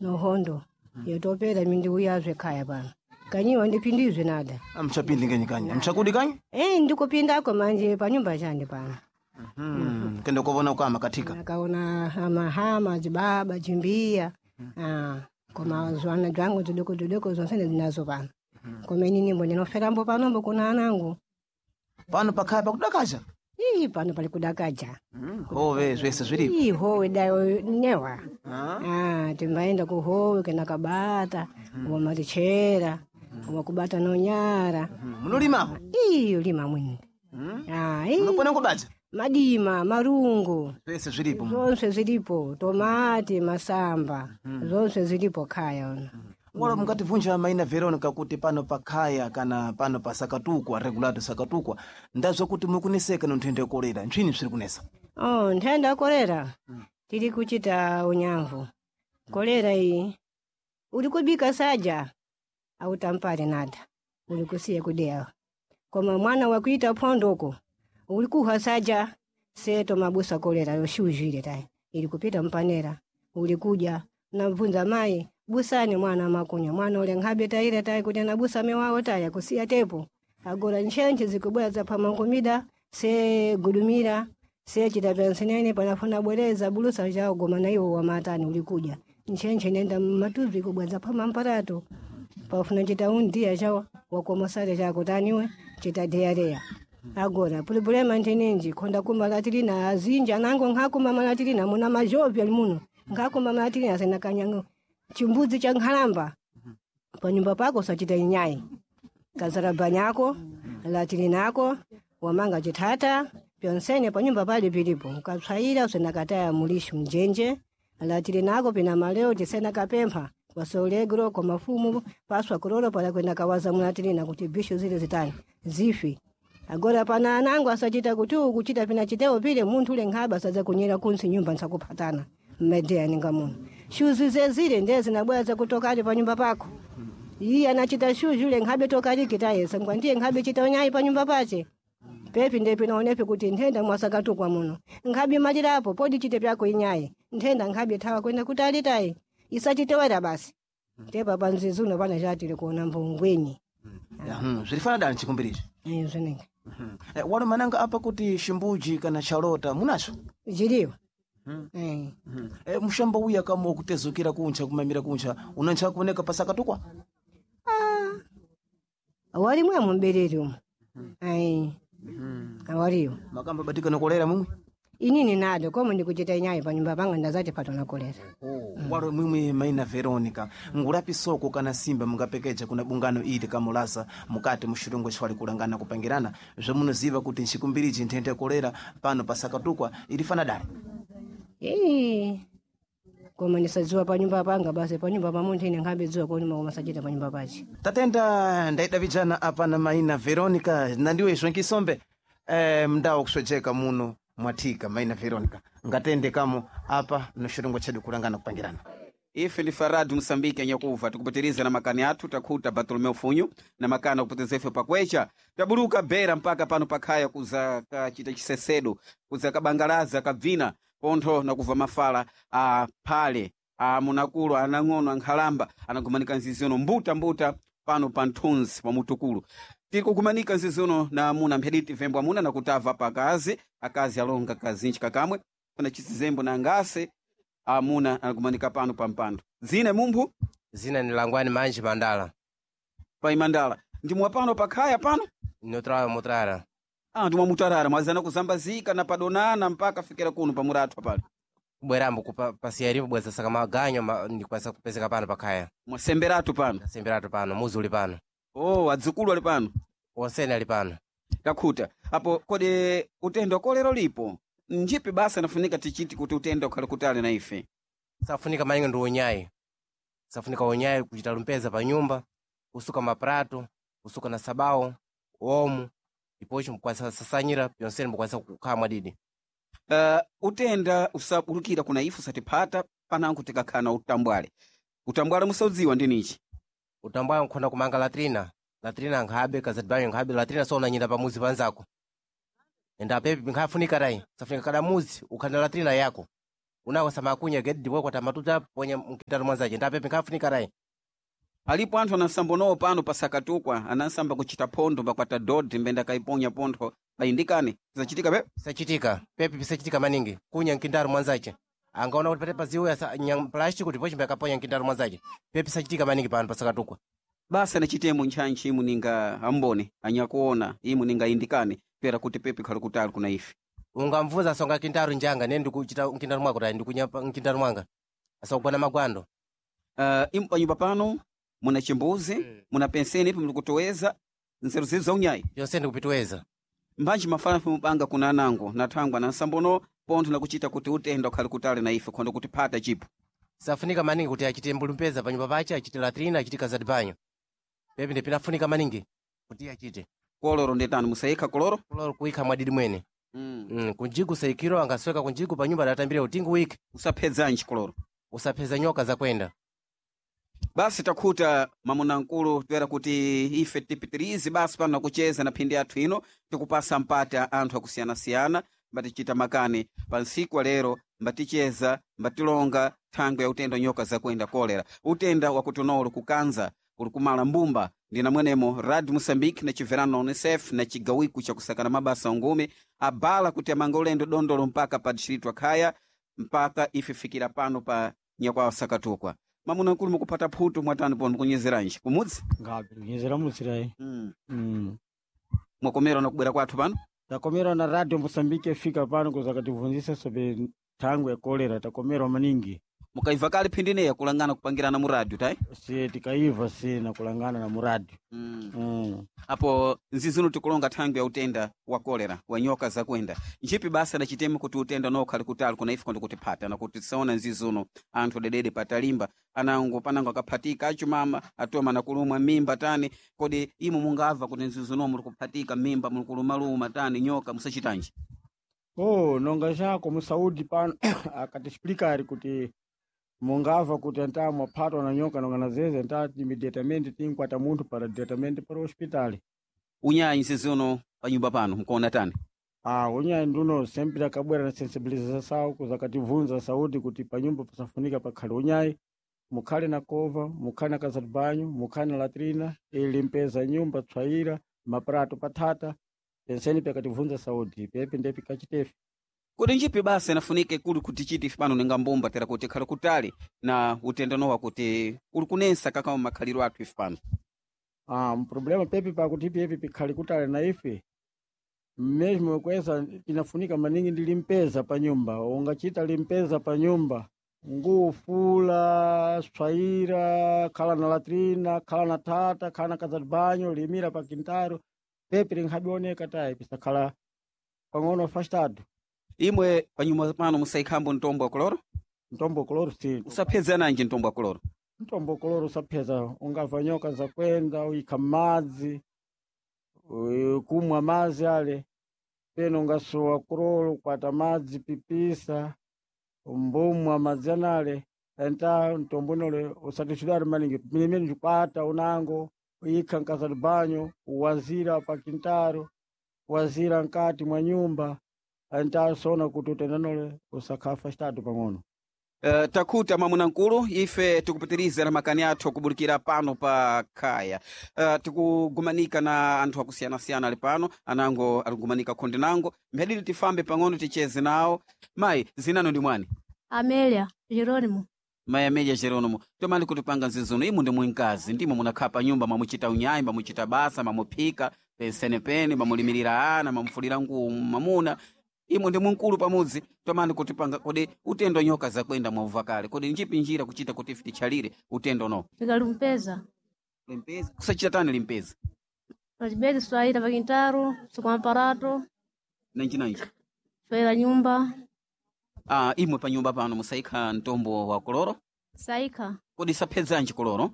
Nohondo yotopera mindiuyazve khaya pano kanyiwa ndipindizve nada. Amchapindi ngenyi kanyi amchakudi kanyi? Eh, ndikupindako manje panyumba chande pano. Kende kovona ukama katika. Akaona hamahama zibaba chimbiya. Ah, koma zwana zvangu zvidoko zvidoko zonse ndinazo pano. Koma inini ndinoferambo panombo kuna anangu. Pano pakhaya pakudakacha. Ii, pano pali kudakaja. Hove zvese zviripo. Ii, howe dayo newa. Ah. Ah, timbaenda kuhowe kana kabata wamatichera wakubata nonyara. Munolimako? Ii, lima mwini. Ah, ii, Munopona kubadza? Madima marungu. Zvese zviripo. Zonse zilipo, tomati, masamba, zonse zilipo khaya ona. Wala mungativunja maina Veronica kuti pano pakhaya kana pano pasakatukwa regulato sakatukwa ndazwa kuti mukuneseka nonthenda ya kolera ntswini bziri kunesa? Oh, nthenda ya kolera tili kuchita unyamvu. Kolera iyi uli kubika saja autampale nada, uli kusiya kudeya. Koma mwana wakuita phondoko uli kuha saja seto mabusa kolera yoshuzhile tayi ili kupita mpanera uli kuja nabvunza mayi busani mwana makunya mwana ule nkhabe tayile tayi kuti anabusa mewawo taya kusiya tepo agora ntchentche zikubwera zaphamangumida se gudumira se chitapyansinene panafuna bwereza bulusa chawo goma na iwo wamatani ulikuja ntchentche nenda mmatuvi kubweza phama mparato pafuna chita undiya chawo wakomosale chako taniwe chitadeyareya agora pulipulema nthenenji khonda kumalatilina azinji anango nkhakuma malatilina muna mazhovi ali muno nkhakuma malatilina asena kanyango chimbudzi cha nkhalamba panyumba pako usachita inyayi kazarabanyako latilinako wamanga chithata pyonsene panyumba pali pilipo ukatswayira usenakataya mulishi mjenje latilinako pina maleo tisena kapempha kwasolegro kwa mafumu paswa kulolo pala kwenda kawaza mulatilina kuti bishu zile zitani zifi. Agora pana anangu asachita kuti ukuchita pina chitewo pile munthu ule nkhaba asadza kunyera kunsi nyumba nsakuphatana mmedeya ninga muno shuzi zezile ndiye zinabwera zakutokali panyumba pako. Iye anachita shuzi ule nkhabe tokaliki tayesa ngwa ndiye nkhabe chita unyayi panyumba pache pepi ndiye pinaonepi kuti nthenda mwasakatukwa muno nkhabe malirapo podi chite pyako inyayi nthenda nkhabe thawa kwenda kutali tayi isachitewera basi tepa panzizuno pana chatili kuona mbungwinyi. Zvilifana dani chikumbirichi? Zvinenge. Walo mananga apa kuti chimbuji kana chalota munacho? Chiliwa. Eh. Mushamba uya kama wakutezukira kuncha kumamira kuncha unancha kuoneka pasakatukwa? Ah, walimwe mumbereri umu. Ai, awaliyo. Makamba batika nokolera mumwe? Inini nado komo ndikuchita inyayi panyumba panga ndazati patona kolera. Walo mwimwe maina Veronica ngulapi soko kana simba mungapekeja kuna bungano ili kamulasa mukati muxilongo xwali kulangana kupangirana zvamunoziva kuti nxikumbirichi nthenda ya kolera pano pasakatukwa ilifana dali? Ii, koma ndisadziwa panyumba panga basi panyumba pa munthu ine nkhabe dziwa koni koma sachita panyumba pache. Tatenda ndaidavijana apa na maina Veronica nandiwe izvo nkisombe mndawo kuswejeka muno mwathika maina Veronica ngatende kamo apa no xilongo chedu kulangana kupangirana. Ife ndi Faradu Msambiki anyakuva tikupitiriza na makani athu takhuta Bartolomeu Funyu na makani akupoteza ife pakwecha tabuluka bera mpaka pano pakhaya kuza kachita chisesedo kuza kabangalaza kabvina pontho nakuva mafala a phale a munakulu anang'ono ankhalamba anagumanika nzizono mbutambuta pano pa nthunzi pa mutukulu tiri kugumanika nzizono na amuna mphediti vembo amuna nakutava pakazi akazi alonga kazinji kakamwe kuna chisizembo na ngase amuna anagumanika pano pa mpando zine mumphu. Zina ni Langwani Manji Mandala. Pa imandala ndimwa pano pakhaya pano. Ninotrawa mutrara. Ah, ndimwa mutarara mwazana kuzambazika na padonana mpaka fikira kuno pamuratwa pano. Kubwerambo kupa pasiyaripo bweza saka maganyo ndikwanisa kupezeka pano pakhaya. Mwasemberatu pano. Semberatu pano muzi uli pano. Oh, adzukulu ali pano. Wonsene ali pano. Takhuta apo kodi utendo kolero lipo njipi basa nafunika tichiti kuti utendo ukhale kutali na ife? Safunika malinga ndi unyayi. Safunika unyayi kuchita lumpeza pa nyumba, kusuka maprato, kusuka na sabao, omo, ipocho mukwanisa sasanyira pyonsene mukwanisa kukhala mwadidi. Utenda usabulukira kuna ife usatiphata panango tikakhala na utambwale utambwale musaudziwa ndinichi? Utambwale nkhona kumanga latrina. Latrina nkhabe kazadibanyo nkhabe latrina so unanyira pamuzi panzako. Enda apepi nkhafunika tayi. Safunika kada muzi ukhali na latrina yako. Unako samakunya gedi ndipo kwata matuta ponya mkintaro mwanzache ndapepe nkafunika rai. Alipo anthu anansambonowo pano pasakatukwa anansamba kuchita phondo mbakwata dodi mbenda kaiponya pontho payindikane zachitika pe Sachitika pepe pisachitika maningi kunya mkintaro mwanzache angaona kuti pate paziwe asa nya plastic ndipo chimbe akaponya mkintaro mwanzache pepe sachitika maningi pano pasakatukwa. Basa nachitemo ntchantchi imu ninga ambone anyakuona imu ninga indikane pera kuti pepe khali kutali kuna ife. Ungamvuza asonga kintaro njanga ne ndikuchita mkintaro mwako rai ndikunya mkintaro mwanga asakugwana magwando. Imu panyumba pano muna chimbuzi muna penseni ipo muli kutoweza nzeru zizu za unyayi Yonse ndikupitoweza. Mbanji mafala mupanga kuna anango na thangwa na nsambono pontho nakuchita kuti utenda ukhali kutali na ife khondo kuti phata chipo. Safunika maningi kuti achite mbulumpeza panyumba pache achite latrina achite kazati banyo pepe ndipinafunika maningi kuti achite. Koloro ndetani musayikha koloro. Kuloro kuikha mwadidi mwene. Kunjiku saikiro angasweka kunjiku panyumba adatambire utingu wiki. Usaphedzanji koloro? Usapheza nyoka zakwenda. Basi takhuta mamunamkulu toera kuti ife tipitirize basi pano nakucheza na phindi yathu ino tikupasa mpata anthu akusiyana-siyana mbatichita makani pa ntsiku wa lero mbaticheza mbatilonga thangwe ya utenda nyoka zakuenda kolera utenda wakuti uli kukanza uli kumala mbumba ndina mwenemo Radio Moçambique na chiverano na UNICEF na chigawiku chakusakana mabasa ungumi abala kuti amanga ulendo dondolo mpaka pa distrito akhaya mpaka ife fikira pano pa nyakwawa sakatukwa. Mamuna nkulu mukupata phutu mwatani pano mukunyezeranji kumudzi? Ngabe kunyezera mutsirayi. Mwakomera na kubwera kwathu pano? Takomera na Radio Mosambike ifika pano kuzakatibvunzisa sobre thangwe ya kolera takomerwa maningi. Mukaiva kale phindineya kulangana kupangirana mu radio tayi? Si tikaiva sina kulangana na muradio. Apo nzizino tikulonga thangwi ya utenda wa kolera wa nyoka zakwenda ntchipi basa na chitemo kuti utenda nokhali kutali kuna ife kuti phata na kuti tisaona nzizuno anthu dedede patalimba anango panango akaphatika achumama atoma na kulumwa mimba tani kodi imu mungava kuti nzizuno muli kuphatika mimba muli kulumaluma tani nyoka musachitanji? Oh, nonga chako musaudi pano akatiexplicar kuti mungava kuti anta mwaphatwa na nyoka nonga na zeze nta imediatamente tinkwata munthu para diretamente para o hospital. Unyayi nzizuno panyumba pano mkuona tani? Ah, unyayi nduno sempre akabwera na sensibilização kuzakatibvunza saúde kuti panyumba pasafunika pakhale unyayi mukhale na kova mukhale na casa de banho mukhale na latrina ilimpeza nyumba tswaira maprato pathata penseni pyakatibvunza saúde pepe ndepi kachitefe. Kuti nchipi basa inafunike kuli kuti chiti ife pano ninga mbumba tera kuti khali kutali na utenda nowa kuti uli kunensa kakama makhaliro athu ife pano? Ah, problema pepe pakuti pepe pikhali kutali na ife mesmo kweza inafunika maningi ndi limpeza pa nyumba ungachita limpeza pa nyumba ngufula swaira khala na latrina khala na thata khala na casa de banho limira pa quintaro pepe linkhabioneka tayi pisakhala pang'ono afastado. Imwe panyumba pano musaikhambo mtombo wa koloro? Mtombo koloro si. Usaphedzananji mtombo wa koloro? Mtombo koloro usapheza ungamva nyoka zakwenda uyikha m'madzi kumwa madzi ale peno ungasowa kulolo kwata madzi pipisa mbumwa madzi anale enta mtombonole usatishidwale maningi milimene ndikwata unango uyikha mkasa de banho uwazira pa quintaro wazira mkati mwa nyumba enta sona kuti utendanole usakhala afastado pang'ono. Takhuta mwamuna nkulu ife tikupitiriza na makani athu akubulikira pano pa khaya. Tikugumanika na anthu akusiyana-siyana ali pano anango alikugumanika khonde nango mphadidi tifambe pang'ono ticheze nawo. Mayi zinano ndi mwani? Amelia Geronimo. Mayi Amelia Geronimo tomali kutipanga nzizuno imu ndi mwinkazi ndimo munakhala pa nyumba mwamuchita unyayi mwamuchita basa mwamuphika pensenepene mwamulimirira ana mwamufulira nguwo mwamuna imwe ndi mumkulu pamudzi tomani kutipanga kodi utendo nyoka zakwenda mwauva kale kodi njipi njira kuchita kuti ife tichalire utendo no? Tikalumpeza. Limpeza kusachita tani limpeza? Pachibedi swahili pa quintaro sukamparato Nanji nanji swahila nyumba. Ah, imwe pa nyumba pano musaikha mtombo wa koloro? Saikha. Kodi saphedzanji koloro?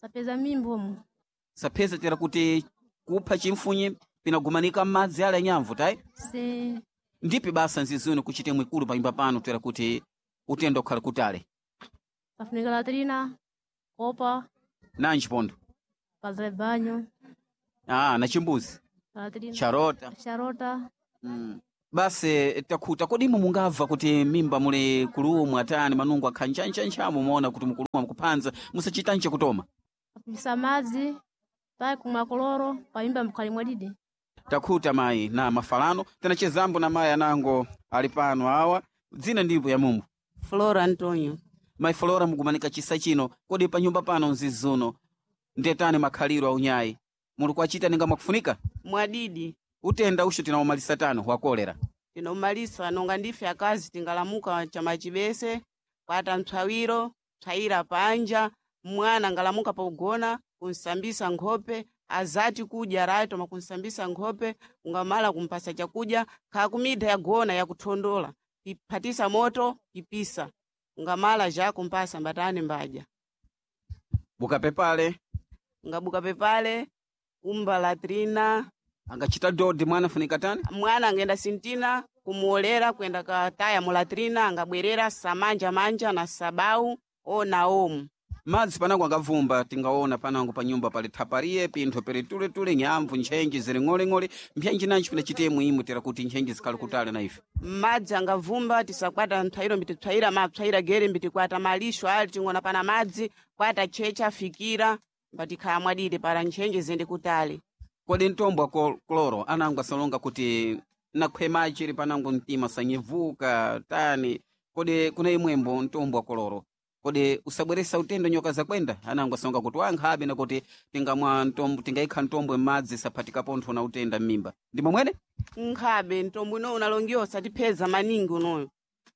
Sapeza mimba omo. Sapheza tera kuti kupha chimfunye pinagumanika m'madzi ale anyamvu tayi? Si. Ndipi basa nzizuni kuchite mwikulu pa nyumba pano tera kuti utendo ukhale kutali? Pafunika latrina kopa Nanji pondo? casa de banho. Ah, na chimbuzi Latrina charota. Charota. Basi takhuta kodi imwe mungabva kuti mimba muli kulumwa tani manungo akhanjanchanchamu muona kuti mukulumwa mukuphanza musachitanje kutoma? Kapisa madzi pai kumwa koloro pamimba mukhali mwadidi. Takhuta mayi na mafalano tinachezambo na mayi anango ali pano awa dzina ndipo ya mumbu. Flora Antonio. Mayi Flora, mukumanika chisa chino, kodi pa nyumba pano mzizuno ndetani makhaliro aunyayi muli kuachita ninga mwakufunika? Mwadidi. Utenda usho tinawumalisa tano wa kolera. Tinomalisa nonga ndife akazi tingalamuka chamachibese kwata mtsawiro psayira panja mwana ngalamuka pogona kunsambisa nkhope azati kudya rayi toma kunsambisa nkhope ungamala kumpasa chakudya khakumidha yagona yakuthondola iphatisa moto ipisa ungamala ja kumpasa mbatani mbadya. Bukapepale. Ngabuka pepale kumba latrina. Angachita dodi mwana funika tani? Mwana angenda sintina kumuolera kwenda kataya mulatrina angabwerera samanja manja na sabau o na omu. Madzi panango angavumba tingaona panango pa nyumba pali thapariye pintho pili tuletule nyamvu ntchenji zili ng'oleng'ole mphenji nanji pinachitemu imwe tera kuti ntchenji zikhali kutali na ife. Madzi angavumba tisakwata mpsayiro mbitipsayira mapsayira gere mbitikwata malisho ali ting'ona pana madzi kwata checha fikira mbatikhala mwadidi para ntchenji zende kutali. Kodi mtombo wa kloro anango asalonga kuti nakhwema chili panango mtima sanyevuka tani kodi kuna imwembo mtombo wa kloro kodi usabweresa utendo nyoka zakwenda? Anango asalonga kuti wankhabe nakuti tingamwa mtombo tingaikha mtombo m'madzi saphatika pontho na utenda m'mimba ndimo mwene? Nkhabe mtombo uno unalongiwa usatipheza maningi unoyo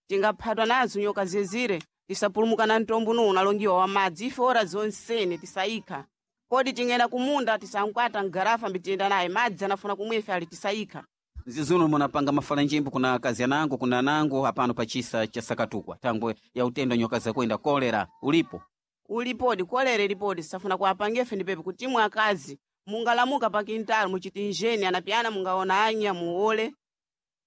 tingaphatwa nazo nyoka zezire tisapulumuka na mtombo uno unalongiwa wa madzi ife ora zonsene tisayikha. Kodi tingenda kumunda tisankwata mgarafa mbitiyenda naye madzi anafuna kumwa ife ali tisayikha. Zizuno munapanga mafalanjimbo kuna akazi anango kuna anango apano pa chisa cha Sakatukwa thangwe ya utendo nyoka zakwenda kolera ulipo? Ulipodi kolera ilipodi safuna kuwapangia ife ndipepe kuti imwe akazi mungalamuka pa kintalo muchitinjeni anapiyana mungaona anya muole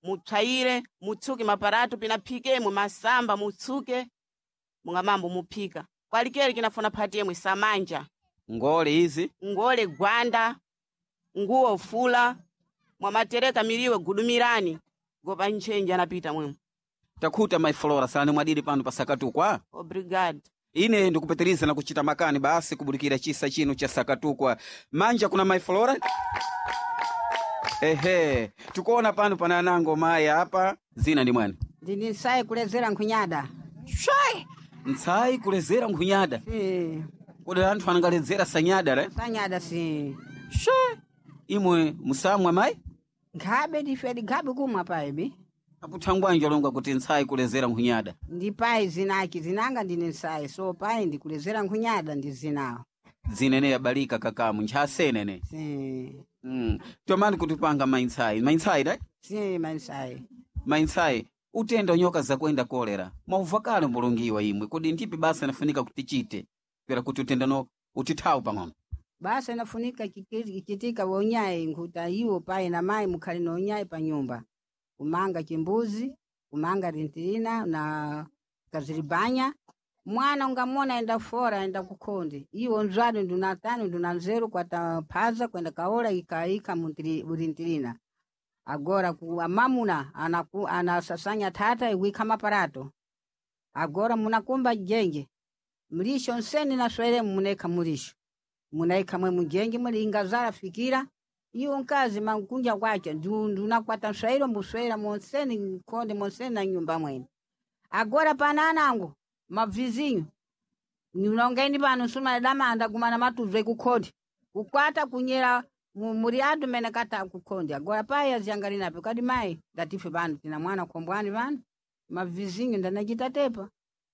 mupsayire mutsuke maparato pinaphikemwe masamba mutsuke mungamambo muphika kwalikeli kinafuna phati yemwe samanja ngole izi ngole gwanda nguwo fula mwamatereka miliwe gudumirani gopa ntchenji anapita mwemwe. Takhuta mayi Flora salani mwadidi pano pa Sakatukwa. Obrigado. Ine ndikupitiriza na kuchita makani basi kubudikira chisa chino cha Sakatukwa. Manja kuna mayi Flora. Ehe, tikuona pano pana anango mayi apa zina ndi mwani. Ndini nsayi kulezera nkhunyada. Shai! Nsayi kulezera nkhunyada. Si. Kodi anthu angaledzera sanyada re? Sanyada si. Shai! Imwe musamwa mayi? Nkhabe ndife nkhabe kumwa payibi. Aputhangwanje alonga kuti nsayi kulezera nkhunyada. Ndi payi zinaki zinanga ndine nsayi so payi ndikulezera nkhunyada ndi zinawo. Zinene yabalika kakamu nchasenene. Si. Tomani kutipanga mayi nsayi. Mayi nsayi dai? Si mayi nsayi. Mayi nsayi utenda nyoka zakwenda kolera mwaubva kale mbulungiwa imwe kodi ndipi basa inafunika kuti tichite pera kuti utendano utithawu pang'ono? Basa inafunika kichitika wonyayi nkhuta iwo payi na mayi mukhali na onyayi pa nyumba. Kumanga chimbuzi, kumanga rintirina na kaziribanya. Mwana ungamona enda fora enda kukhonde. Iwo nzwadi nduna tano nduna nzeru kwata phaza kwenda kaola ikaika murintirina. Agora ku amamuna anaku anasasanya thata iwikha maparato. Agora munakumba jenge. Mlisho nseni na swere muneka mulisho. Munaika mwe mujenge muli ingazala fikira. Iwo nkazi mankunja kwacha ndunakwata nswairo mbuswera monseni nkhonde monseni na nyumba mwene. Agora pananango mabvizinyo. Nongendi pano nsuma damanda kumana matuzwe kukhonde. Kukwata kunyera muri adu mene kata kukhonde. Agora payi aziyangalinapo kadi mayi ndatife pano tina mwana khombwani pano. Mabvizinyo ndanachita tepa.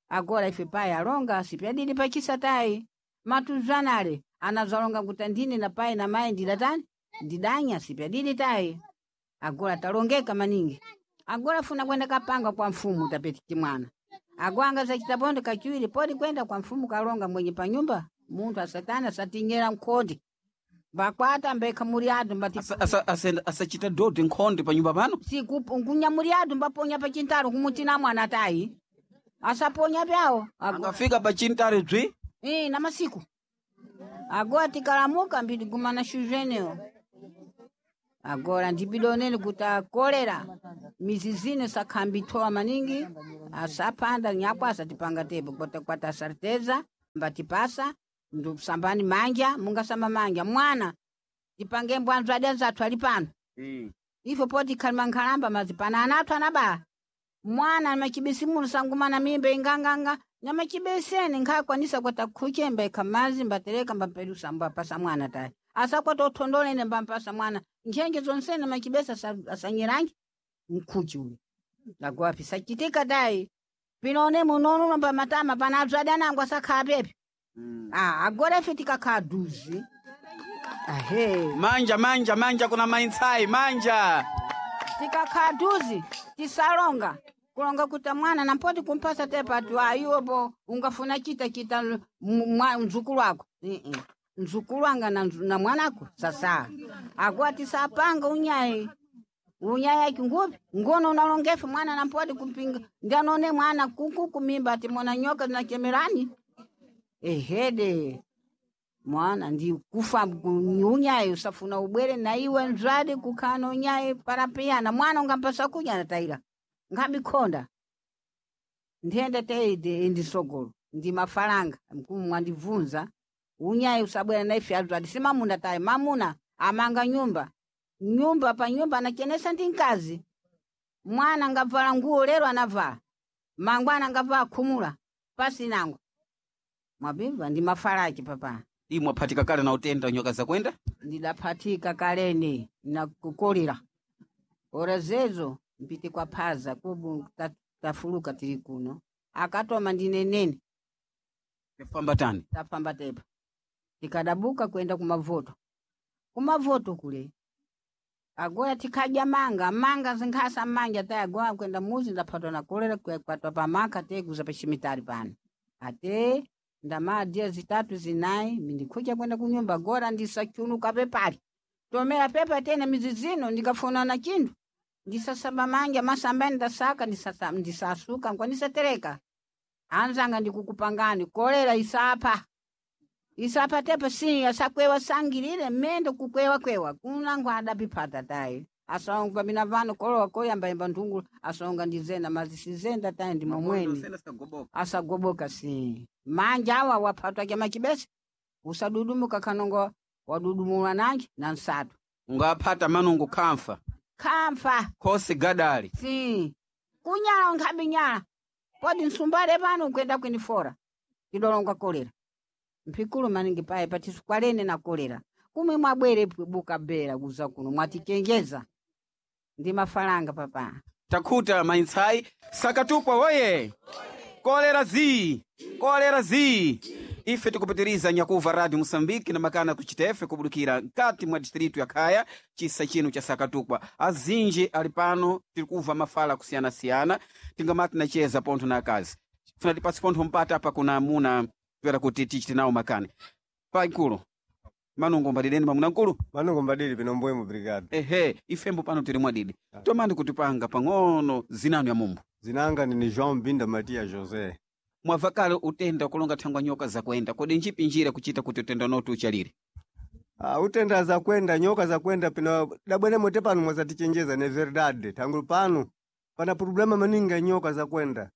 Agora ife payi alonga sipyadidi pachisa tayi. Matuzanale anazalonga kuti ndine na payi na mayi ndidatani ndidanya sipyadidi tayi. Agora talongeka maningi. Agora funa kwenda kapanga kwa mfumu tapeti chimwana. Agwanga zachitapondo kachiwiri podi kwenda kwa mfumu kalonga mwenye panyumba munthu asatana asatinyera mkhonde. Mbakwata mbekha muri adu mbati Asachita dodi nkhonde pa nyumba pano? Siku nkunyamuri adu mbaponya pa chintaro kumutina mwana tayi. Asaponya pyawo. Angafika pa chintaro bzi? Eh, na masiku. Agora tikalamuka mbidi gumana shuzenewo. Agora ndipidonene kuti akolera mizi zine sakhambithowa maningi asapanda nyakwasa tipanga tepo kwata kwata sarteza mbatipasa ndusambani manja mungasamba manja mwana tipange mbwanzo adenza athu ali pano ifo poti khalima nkhalamba mazipana ana athu anabala mwana machibesi muno sangumana mimba inganganga nyamachibeseni nkhakwanisa kwata khuchemba ikha mazi mbatereka mbapelusa mbapasa mwana tayi asakwata uthondolene mbampasa mwana nchenje zonsene machibesi asanyiranji mkhuchi uyu nagowapi sachitika tayi pinone munonuno pamatama pana adzadi anango asakhala pepe ah, agora ife tikakhala duzi ahe Manja manja manja kuna maintsai manja. tikakhala duzi tisalonga kulonga kuta mwana nampoti kumpasa tepa ati ayiwopo ungafuna chita chita mzukulu wako mzukulu wanga na mwanako sasa akuwa tisapanga unyayi unyayi akingupi ngono unalongefe mwana nampoti kumpinga ndianone mwana kuku kumimba ati mona nyoka zinachemerani ehede mwana ndi kufa unyayi usafuna ubwere na iwe nzwadi kukhana unyayi parapiyana mwana ungampasa kudya anatayira nkhabikhonda nthenda teide indisogolo ndi mafalanga mkumu mwandibvunza unyayi usabwera na ife azwadi si mamuna tayi mamuna amanga nyumba nyumba pa nyumba anachenesa ndi mkazi mwana angavala nguwo lero anavala mangwana angavala khumula pasi nango mwabimva ndi mafalaki papa Imwe aphatika kale na utenda nyoka zakwenda? ndidaphatika kaleni nakukolera ora zezo mpite kwa phaza kubu tafuluka tili kuno akatoma ndinenene Tafamba tani. tafamba tepa tikadabuka kwenda kumavoto kumavoto kule agoya tikadya manga manga zinkhasa manja tayi agoya kwenda muzi ndaphatwa na kolera kwatwa pamaka te kuza pachimitali pano ate ndamaa dia zitatu zinayi mindikhucha kwenda kunyumba gora ndisachunuka pepali tomera pepa tena mizi zino ndikafuna na chinthu ndisasamba manja masambani ndasaka ndisasuka nkwandisatereka anzanga ndikukupangani kolera isapha isapha tepa si asakwewa sangilile mmendo kukwewa kwewa kunango adapiphata tayi asonga mina vano kolowa koyambayamba nthungulu asonga ndizena mazisizenda tayi ndi momweni asagoboka si manja awa waphatwa kya machibese usadudumuka kanongo wadudumulwa nanji na nsatu Ungaphata manungu khamfa. khamfa Khosi gadali. si kunyala nkhabi nyala podi nsumbale pano kwenda kwinifora idolonga kolera mphikulu maningi paye patisikwalene na kolera kumwe mwabwere buka bera kuza kuno mwatichenjeza ndi mafalanga papa Takhuta maintsai sakatukwa woye. Kolera zi. Kolera zi. Ife tikupitiriza nyakuva Radio Moçambique na makana kuchitefe kubudukira nkati mwa distritu ya Khaya chisa chino cha Sakatukwa. Azinji ali pano tiri kuva mafala kusiyana-siyana tingamati nacheza pontho na akazi. Funa tipasi pontho mpata apa kuna amuna toera kuti tichite nawo makani. Paikulu manungo mbadideni pamuna nkulu. Manungo mbadidi pino mbwemo brigade. Ehe, ifembo pano tiri mwadidi. Tomani kutipanga pang'ono zinanu ya mumbu. Zinanga ni João Binda Matia José. Mwabva kale utenda kulonga thangwa nyoka zakwenda kodi njipi njira kuchita kuti utenda notu uchalire Ah, utenda za kwenda nyoka za kwenda pino dabwene mote pano mwazatichenjeza ne verdade tangulu pano pana problema maningi ya nyoka za kwenda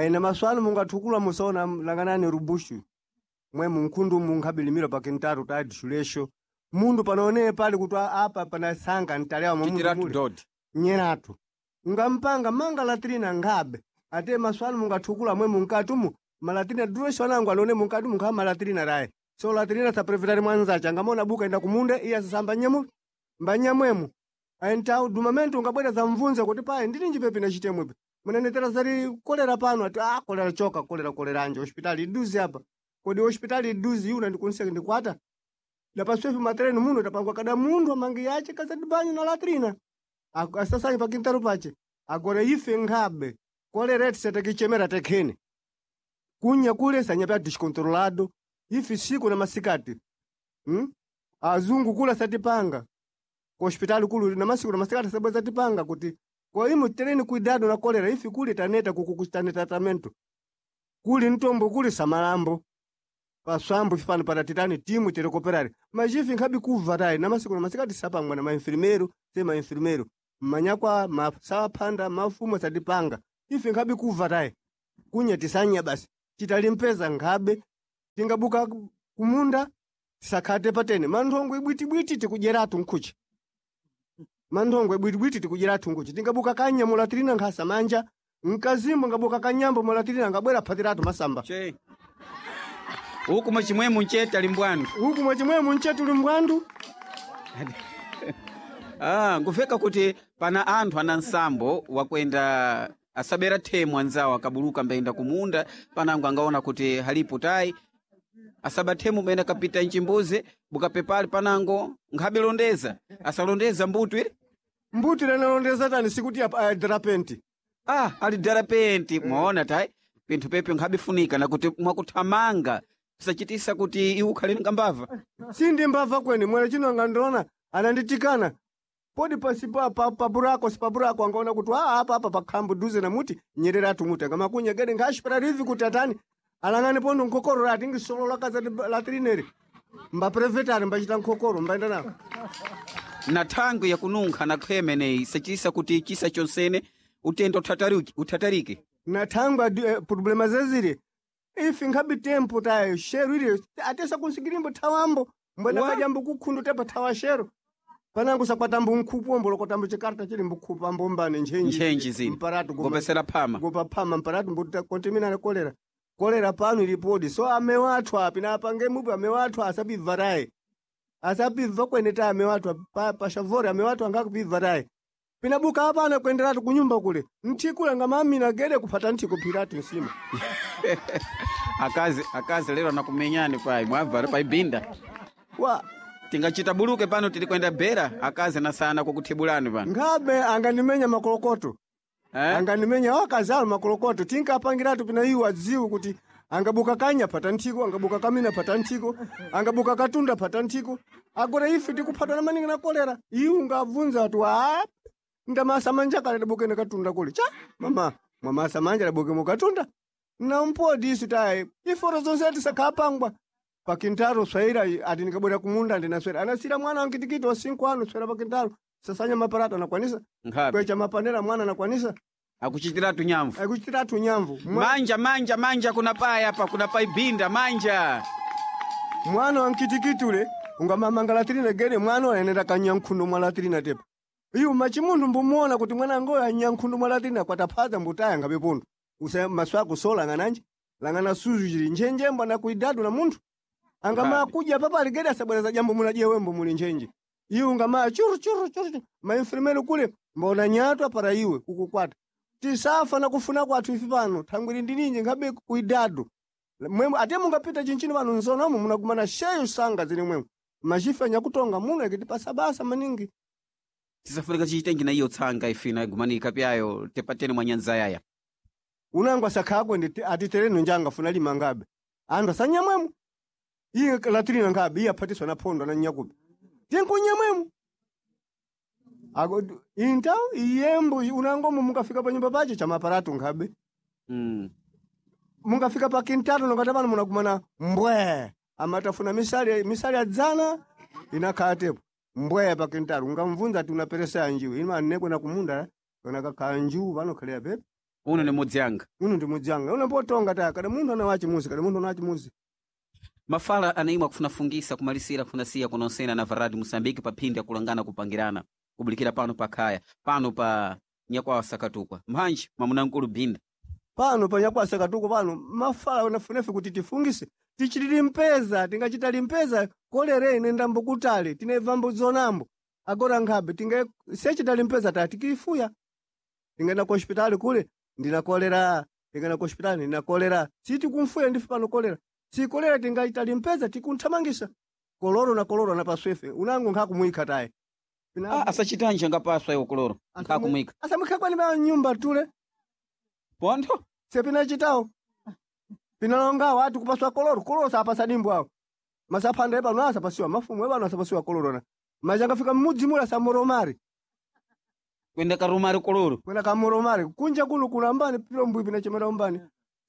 na maswanu mungathukula musaona langanani rubushu mwe munkhundu munkabilimira pa kintaru tadi shulesho mundu panaonee pali kuti apa panasanga ntalewa mwa mundu chitiratu mule dodi nyeratu ngampanga manga latrina ngabe ate maswanu mungathukula mwe munkatumu malatrina duresho anangu alone munkatu munkha malatrina raye so latrina saprevitari mwanzacha ngamona buka enda kumunda iye sasamba nyemu mbanyamwemu aentau dumamento ungabwera zamvunza kuti paye ndili njipepi na chitemwepe munenetera zari kolera pano ati ah kolera choka kolera koleranje hospitali iduzi apa kodi hospitali iduzi yuna ndikunseka ndikwata dapaswepi matereni muno tapangwa kada mundu amangi yache kazadibanyu na latrina asasanyi pakintaro pache agora ife nkhabe kolera tisetekichemera tekhene kunya kule sanyapya descontrolado ife siku na masikati Azungu kula satipanga ku hospitali kulu na masiku na masikati sabwe satipanga kuti kwa imu tereni cuidado na kolera ife kuli taneta kukukuchitane tratamento kuli ntombo kuli samalambo. Paswambo ifipano para titani timu tirekoperari majifi nkhabi kuva tayi na masiku na masikati sapangwa na mainfirmeiro se mainfirmeiro mmanyakwa masawaphanda mafumo satipanga ife nkhabi kuva tayi kunya tisanya basi chitalimpeza nkhabe tingabuka kumunda tisakhate patene manthongo ibwitibwiti tikudyeratu nkhuchi manthongo ibwitibwiti tikudyeratu nkhuchi tingabuka kanya mulatirina nkhasa manja mkazimbo ngabuka kanyambo mulatirina ngabwera phatiratu masamba Che. Uku mwachimwemu nchete ali mbwandu. Uku mwachimwemu nchete uli mbwandu. Ah, nguveka kuti pana anthu ana nsambo wakwenda asabera themu anzawo akabuluka mbayenda kumunda panango angaona kuti halipo tayi asaba themu mbayenda kapita mchimbuzi bukapepali panango nkhabilondeza asalondeza mbuto ili Mbuto lanalondeza tani sikuti adrapenti. Ah, ali darapenti mwaona tayi pinthu pepe nkhabifunika nakuti mwakuthamanga pisachitisa kuti iwe ukhale ngambava. Sindi mbava kweni mwene chino angandiona ananditikana podi pasi pa pa paburako sipaburako angaona kuti ah apa apa pakhambo duze na muti nyereratu muti angamakunya gede nkhashipera rivi kuti atani alang'ani pondo nkhokoro rati ngisolola kaza latrineri mbaprevetani mbachita nkhokoro mbaenda nawo Na thangwi yakununkha na khwemeneyi isachitisa kuti chisa chonsene utenda uthatarike. Na thangwi problema zezire ifi nkhabi tempo tayo shero ili atesa kunsikirimbo thawambo mbwena kajambo kukhundu tepa thawa shero panango sakwatambo nkhupu ombo lokotambo chikarta chili mbukhupu ambo mbane ntchenji Ntchenji zini. mparatu Ngopesera phama. gopa phama mparatu mbuta kontaminana kolera kolera pano ilipodi so amewo athu api na apange mupi amewo athu asapibva tayi asapibva kwene ta amewo athu pashavori amewo athu angakupibva tayi pinabuka apana kuenderatu kunyumba kule nthikule ngamamina gede kuphata nthiko phiratu nsima Akazi lero anakumenyani pai mwabva paibinda wa tingachita buluke pano tili kwenda bera akazi anasana kukuthibulani pano ngabe angandimenya makolokoto eh? Angandimenya wakazalo makolokoto tinkapangiratu pina iwo adziwe kuti angabuka kanya phata nthiko angabuka kamina phata nthiko angabuka katunda phata nthiko agora ife tikuphatwa na maningi na kolera iwe ungabvunza ati wa ndamasa manja kale dabukene katunda kule cha mama mwamasa manja dabuke mukatunda nampodi isu tayi iforo zonse tisakhapangwa pakintaro swaira ati ndikabwera kumunda ndinaswera anasira mwana wankitikiti wa 5 ano swera pakintaro sasanya maparata anakwanisa Nkhabe. kwecha mapanera mwana anakwanisa akuchitiratu nyamvu akuchitiratu nyamvu manja manja manja kuna pai apa kuna pai binda manja mwana wankitikiti ule ungamamanga latirina gede mwana ayenera kanyankhundo mwa latirina tepa iwo machimunthu mbumuona kuti mwana ngoyo anyankhundo mwa latirina kwataphaza mbutaya ngabe pundu usa maso ako so lang'ananje lang'ana suzu chili njenjembo anakuidadu na munthu angamaa kudya papali gede asabwereza jambo munadye wembo muli njenje iwe ungamaa churu churu churu mainfirmero kule mbona nyatwa para iwe kukukwata tisafa na kufuna kwathu ifi pano thangwiri ndininji ngabe kuidadu mwemwe ate mungapita chinchino pano nzonomo munakumana sheyo sanga zili mwemwe machifa nyakutonga muno ikitipasa basa maningi tisafunika chichitenji na iyo tsanga ifina igumanika pyayo tepatene mwa nyanza yaya unango asakhakwe ndi atitereno njanga funa lima ngabe anthu asanyamwemo iye latirina ngabe iye aphatiswa na phondo na nyakupi tinkunyamwemo ako inta iyembo unangomo mungafika pa nyumba pache chamaparatu nkhabe mungafika pa kintatu nokata pano munakumana mbwe amatafuna misali misali adzana inakhala tepo mbwe pa kintatu ungamvunza ati unaperesa anjiwe ino anekwe na kumunda kana kakhala njiwu panokhalira pepe uno ni mudzi anga uno ndi mudzi anga uno potonga ta kada munthu ana wachimuzi kada munthu ana wachimuzi mafala anaimwe akufunafungisa kumalisira kufunasiya kunonsena na varadi musambiki pa phindi akulangana kupangirana kubulikira pano pa khaya pano pa nyakwawa sakatukwa mphanji mwamuna binda pano pa sakatuko pano mafala unafunefe kuti tifungise tichitiri mpeza tingachita limpeza kolere ine ndambo kutali tinebvambo zonambo agora nkhabe tinga sechita limpeza ta tikifuya tingenda ku hospitali kule ndina kolera tingenda ku hospitali ndina kolera sitikumfuya ndife pano kolera si kolera tingaita limpeza tikunthamangisa koloro na koloro na paswefe unango nkhakumwikha taye ah, asachitanje angapaswa iwo koloro nkhakumwikha asamwikha kwani pa nyumba tule pontho sepina chitawo pinalongawo ati kupaswa koloro koloro sapasa dimbo awo masaphanda epano asapasiwa mafumu epano asapasiwa koloro na machangafika mmudzi mula samoromari kwenda karumari koloro kwenda kamoromari kunja kuno kulambani pilombwi pinachemera umbani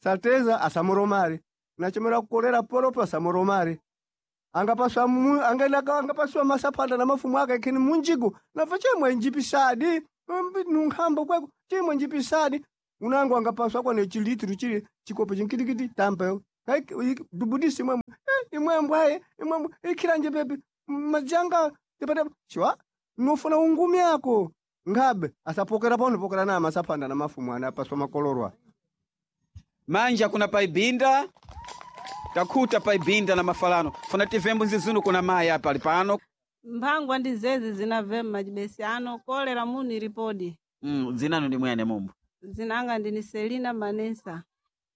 sateza asamoromari Nachomera kukolera poropo samoromari. Angapaswa angapaswa masapanda na mafumu ake kini munjigo nafa chemwe njipisadi nunkhambo kweko chemwe njipisadi unango angapaswa kwa ne chilitru chili chikopo chinkitikiti tampeyo dubudisi imwemwe imwembwe aye imwembwe ikhilanje pepe majanga tepate chiwa nofuna ungumi ako ngabe asapokera pano pokera na masapanda na mafumu ana apaswa makolorwa manja kuna paibinda takhuta paibinda na mafalano funa tivembo nzizunu kuna mayi apa ali pano mphangwa ndi zezi zinavema macibesi ano kolera munu ilipodi dzinanu ndi mwene mumbu zinanga ndini Selina Manesa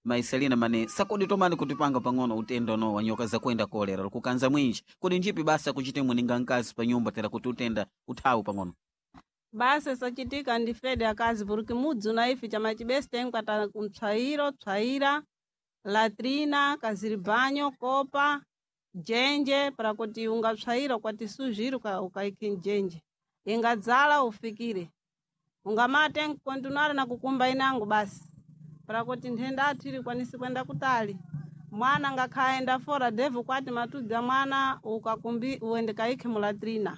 mayi Selina mane sakodi tomani kutipanga pang'ono utenda uno wa nyoka zakwenda kolera likukanza mwinji kodi njipi basa kuchite mweninga mkazi pa nyumba tera kuti utenda uthawu pang'ono basa sachitika ndi fede akazi puriki mudzi una ife chamacibesi tenkwata kumtswayiro tswayira latrina kaziribanyo kopa jenje para kuti ungatswayira kwati suzhiri ukaikhi mjenje ingadzala ufikire ungamate kontinwara na kukumba inango basi para kuti nthenda athu ili kwanisi kwenda kutali mwana ngakhaenda fora devu kwati matudza mwana ukakumbi uende kaikhe mulatrina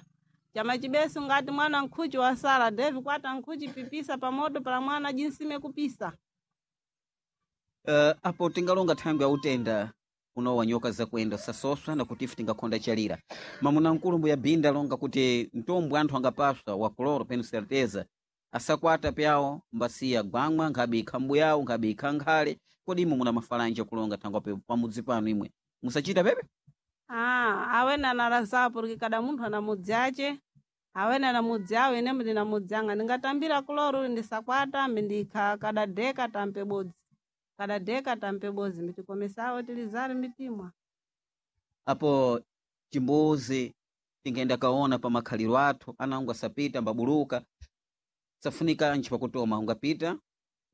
chama chibesi ngati mwana nkhuchi wasala devu kwati nkhuchi pipisa pamoto para mwana jinsime kupisa apo tingalonga thangwi ya utenda uno wa nyoka zakuenda sasoswa na kuti ife tingakhonda chalira mamuna mkulu ya binda longa kuti mtombwe anthu angapaswa wa koloro penu certeza asakwata pyawo mbasiya gwamwa nkhabe ikha yawo nkhabe ikha nkhale kodi imwe muna mafalanja kulonga thangwi apo pamudzi panu imwe musachita pepe Ah, awene analazapo porque cada munthu ana mudzi ace awene ana mudzi awo ine ndina mudzi anga ndingatambira kuloro ndisakwata mbindikha kada deka tampe bodzi kada deka tampe bodzi mbitikomesawo tilizari mbitimwa apo chimbuzi tingaenda kaona pa makhaliro athu anango asapita mbabuluka safunika ntchi pakutoma ungapita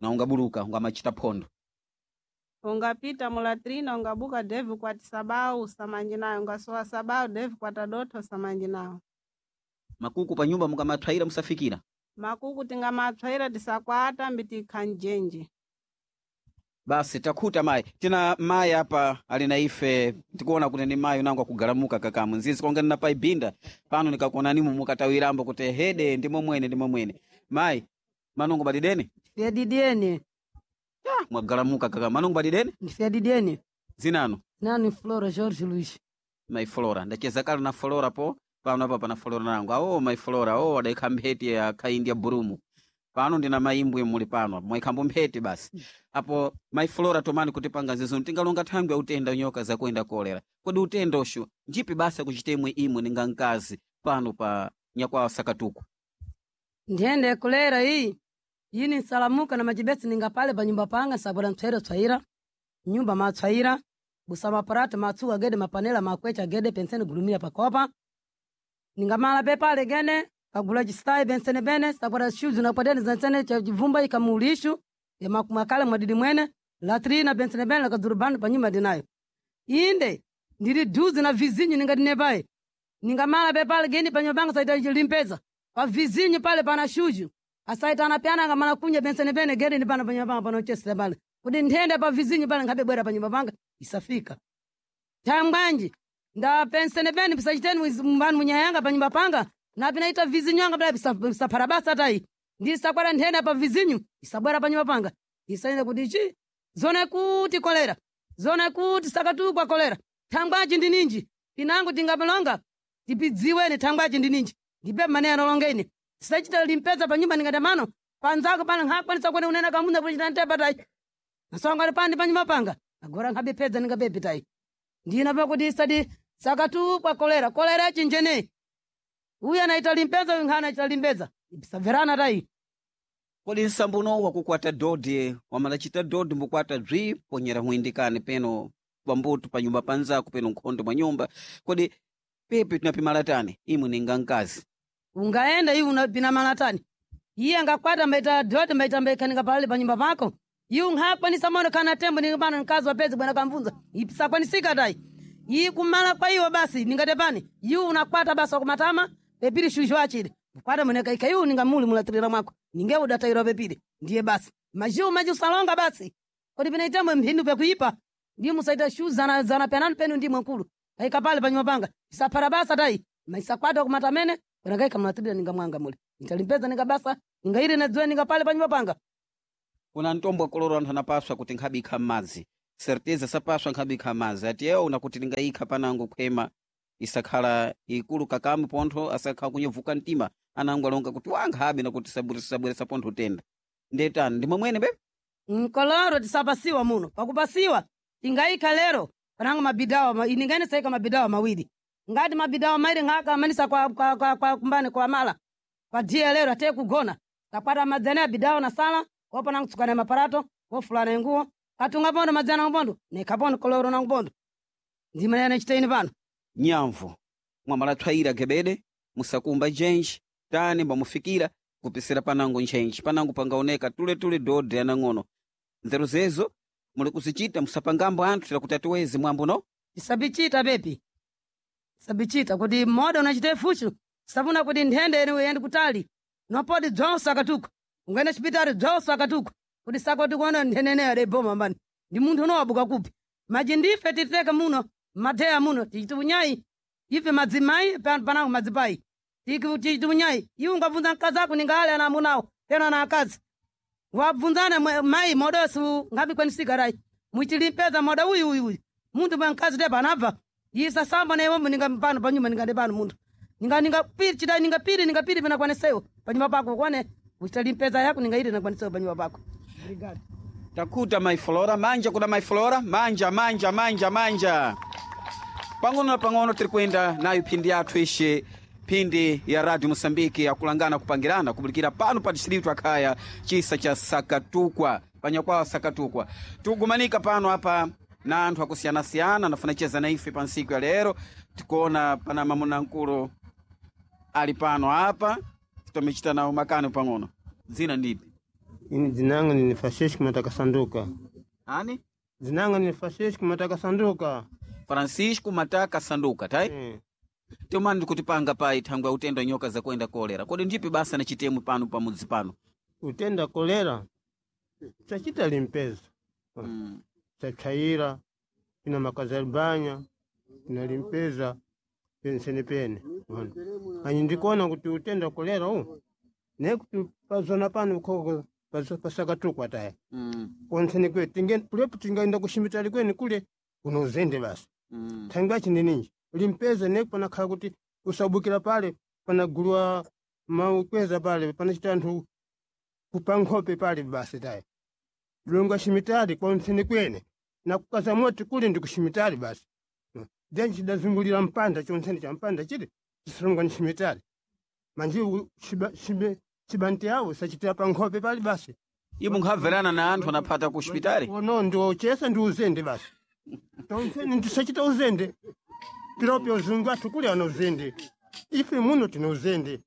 na ungabuluka ungamachita phondo ungapita mulatrina ungabuka devu kwati sabau usamanji nayo ungasowa sabau devu kwata dotho usamanji nawo makuku pa nyumba mukamathwayira musafikira makuku tingamatswaira tisakwata mbitikha mjenje basi takhuta mayi tina mayi apa ali na ife tikuona kuti ni mayi unango akugalamuka kakamu nzizi konga nina paibinda pano nikakuonanimu mukatawirambo kuti hede ndimo mwene ndimo mwene mayi manungo badideni Fyadidieni, mwagalamuka kakamu manungo badideni fyadidieni. zinano Nani Flora Jorge Luiz. mayi Flora ndacheza kale na Flora po pano apa pana Flora nangu awo mayi Flora awo adaikha mpheti ya khaindi ya burumu pano ndina mayimbwe muli pano mwayikhambo mpheti basi apo mayi Flora tomani kutipanga zizo tingalonga thangwi ya utenda nyoka zakuenda kolera kodi utenda ushu njipi basa kuchitemwe imwe ninga mkazi pano pa nyakwawa sakatuku Nthenda kulera iyi. Yini nsalamuka na macibesi ningapale pa nyumba panga sabula mtswaira tswaira. Nyumba matswaira. Busa maparata matsuka gede mapanela makwecha gede penseni gulumira pakopa. Ningamala pepale gene kagula chistai pensene bene sabula shoes na kwadeni zansene cha chivumba ikamulishu ya makumakale mwadidi mwene latrina pensene bene lakadzurubani pa nyumba ndinayo. Inde ndili duzi na vizinyu ningadine paye. Ningamala pepale geni pa nyumba panga saita limpeza. Pa vizinyu pale pana shuju. Asaita anapyana ngamala kunya pensene bene gede ni pana pa nyumba panga panochesera pale. Kuti nthenda pa vizinyu pale nkhabe bwera pa nyumba panga isafika. Thangwanji nda pensene bene pisachiteni mbanu munyayanga pa nyumba panga na pinaita vizinyu anga pala pisaphara basa tayi. Ndisakwala nthenda pa vizinyu isabwera pa nyumba panga. Isaenda kuti chi zone kuti kolera zone kuti sakatukwa kolera thangwaji ndi ninji pinango tingapalonga tipidziweni thangwaji ndi ninji ndipe mmene analonga ine tisachita limpeza pa nyumba ndingati mano panzako pano nkhakwanisa kuone unena kamuna kuchita ntepa tayi nasongani pani pa nyumba panga agora nkhabe pedza ndingabepe tayi ndina pakuti isati sakatukwa kolera kolera chinjeneyi uyu anaita limpeza uyu nkhana anaita limpeza ipisabverana tayi kodi nsambuno wakukwata dodi wamalachita dodi mbukwata bzwi ponyera huindikani peno pambuto pa nyumba panzako peno nkhondo mwa nyumba kodi pepe tinapimala tani imwe ninga mkazi ungaenda iwe unapina malatani iye angakwata mbaita doti mbaita mbaikhanika palale pa nyumba pako iwe unkhakwanisa mono khana tembo ningapano mkazi wapedzi bwana kamvunza isakwanisika tayi iyi kumala kwa iwo basi ningate pani iwe unakwata basi wakumatama pepiri shuzho achile kwata munekaika iwe ningamuli mulatirira mwako ninge udatayirwa pepiri ndiye basi majiwu maji usalonga basi kodi pinaitamwe mphinu pekuipa Ndi musaita shu zana zana penani penu ndi mwankulu. Kaika pale panyumba panga. Isapara basa tai. Maisakwata kumatamene. Wanagaika mlatrina ninga mwanga mule. Nitalimpeza ninga basa. Ninga iri na dzwe ninga pale panyumba panga. Kuna ntombo koloro anthu anapaswa kuti nkhabikha m'madzi certeza sapaswa nkhabikha m'madzi ati ewo nakuti lingayikha panango khwema isakhala ikulu kakamu pontho asakhala kunyevuka mtima anango alonga kuti wankhabe nakuti sabweresa pontho tenda ndetani ndi momwene bebe Nkoloro tisapasiwa muno. Pakupasiwa tingaika lero panango mabidawa iningene saika mabidawa mawiri. Ngati mabidawa mairi ngaka amanisa kwa kumbani kwa mala. Kwa dia lero ate kugona. Takwata madzana ya bidawa na sala, opa nangu tsukana maparato, ofulana nguo. Katunga pondo madzana ubondo, nekapondo koloro na ubondo. Ndima yana chitaini pano. Nyamvu mwamalathwayira gebede musakumba jenji tani mbamufikira kupisira panango ntchentche panango pangaoneka tuletule dode anang'ono nzeru zezo muli kuzichita musapangambo anthu tira kuti atiweze mwambo no Tisabichita bebi. Tisabichita kuti mmoda unachita fuchu. Safuna kuti nthende ene uyende kutali. Nopodi dzonse akatuka. Ungaenda chipitali dzonse akatuka. Kuti sako tikuona nthende ene adeboma mbani. Ndi munthu unowabuka kupi. Maji ndife titeka muno, matheya muno, tichiti unyayi. Ife madzimai panango madzipai. Tichiti unyayi. Iwe ungabvunza mkazi ako ningale ana amunawo, tena na akazi. Wabvunzana mai modosi ngabikwanisika rai. Muchilimpeza moda uyu uyu uyu. Munthu mwa mkazi tepa anabva. Isa samba na iwombo ninga pano panyuma ninga pano munthu. Ninga ninga piri chidai ninga piri ninga piri pina kwaniseyo panyuma pako kwane uchitalimpeza yako ninga iri na kwaniseyo panyuma pako. Obrigado. Takuta mai Flora, manja kuna mai Flora, manja manja manja manja. Pang'ono na pang'ono tiri kuyenda nayo phindi yathu ishe phindi ya Radio Mosambiki yakulangana kupangirana kubulikira pano pa distritu akhaya chisa cha Sakatukwa panyakwawa Sakatukwa. Tikugumanika pano apa na anthu akusiyana-siyana anafuna cheza na ife pa ntsiku ya lero tikuona pana mamuna mkulu ali pano apa titomechita nawo makano pang'ono. Dzina ndipi? Ini dzinanga ni Francisco Mataka Sanduka. Ani? Dzinanga ni Francisco Mataka Sanduka. Francisco Mataka Sanduka tai Tiomani ndikutipanga pai thangwe utenda nyoka zakuenda kolera kodi ndipi basa na chitemu pano pamudzi pano Utenda kolera chachita limpeza. Chachaira ina makazalibanya ina limpeza pensene pene. Ona. Anyi ndikuona kuti utenda kolera u nekuti pazona pano koko pasakatukwa taya. Konsene kwe tinge kulepo tingaenda kushimitali kweni kule unozende basi. Thangwi achi ndininji limpeza neku panakhala kuti usabukira pale panagulwa maukweza pale panachita anthu kupa nkhope pale basi taya. Lunga shimitali konsene kwene na kukaza moti kule ndi kushimitali basi. Then chidazungulira mpanda chonsene cha mpanda chili chisilonga ni shimitali. Manje chibanti yawo sachitira pa nkhope pale basi. Ibu nkhamverana na anthu anaphata ku hospitali Ono ndi ochesa ndi uzende basi. Tonsene ndisachita uzende. Piropi uzungu athu kule ana uzende. Ife muno tina uzende.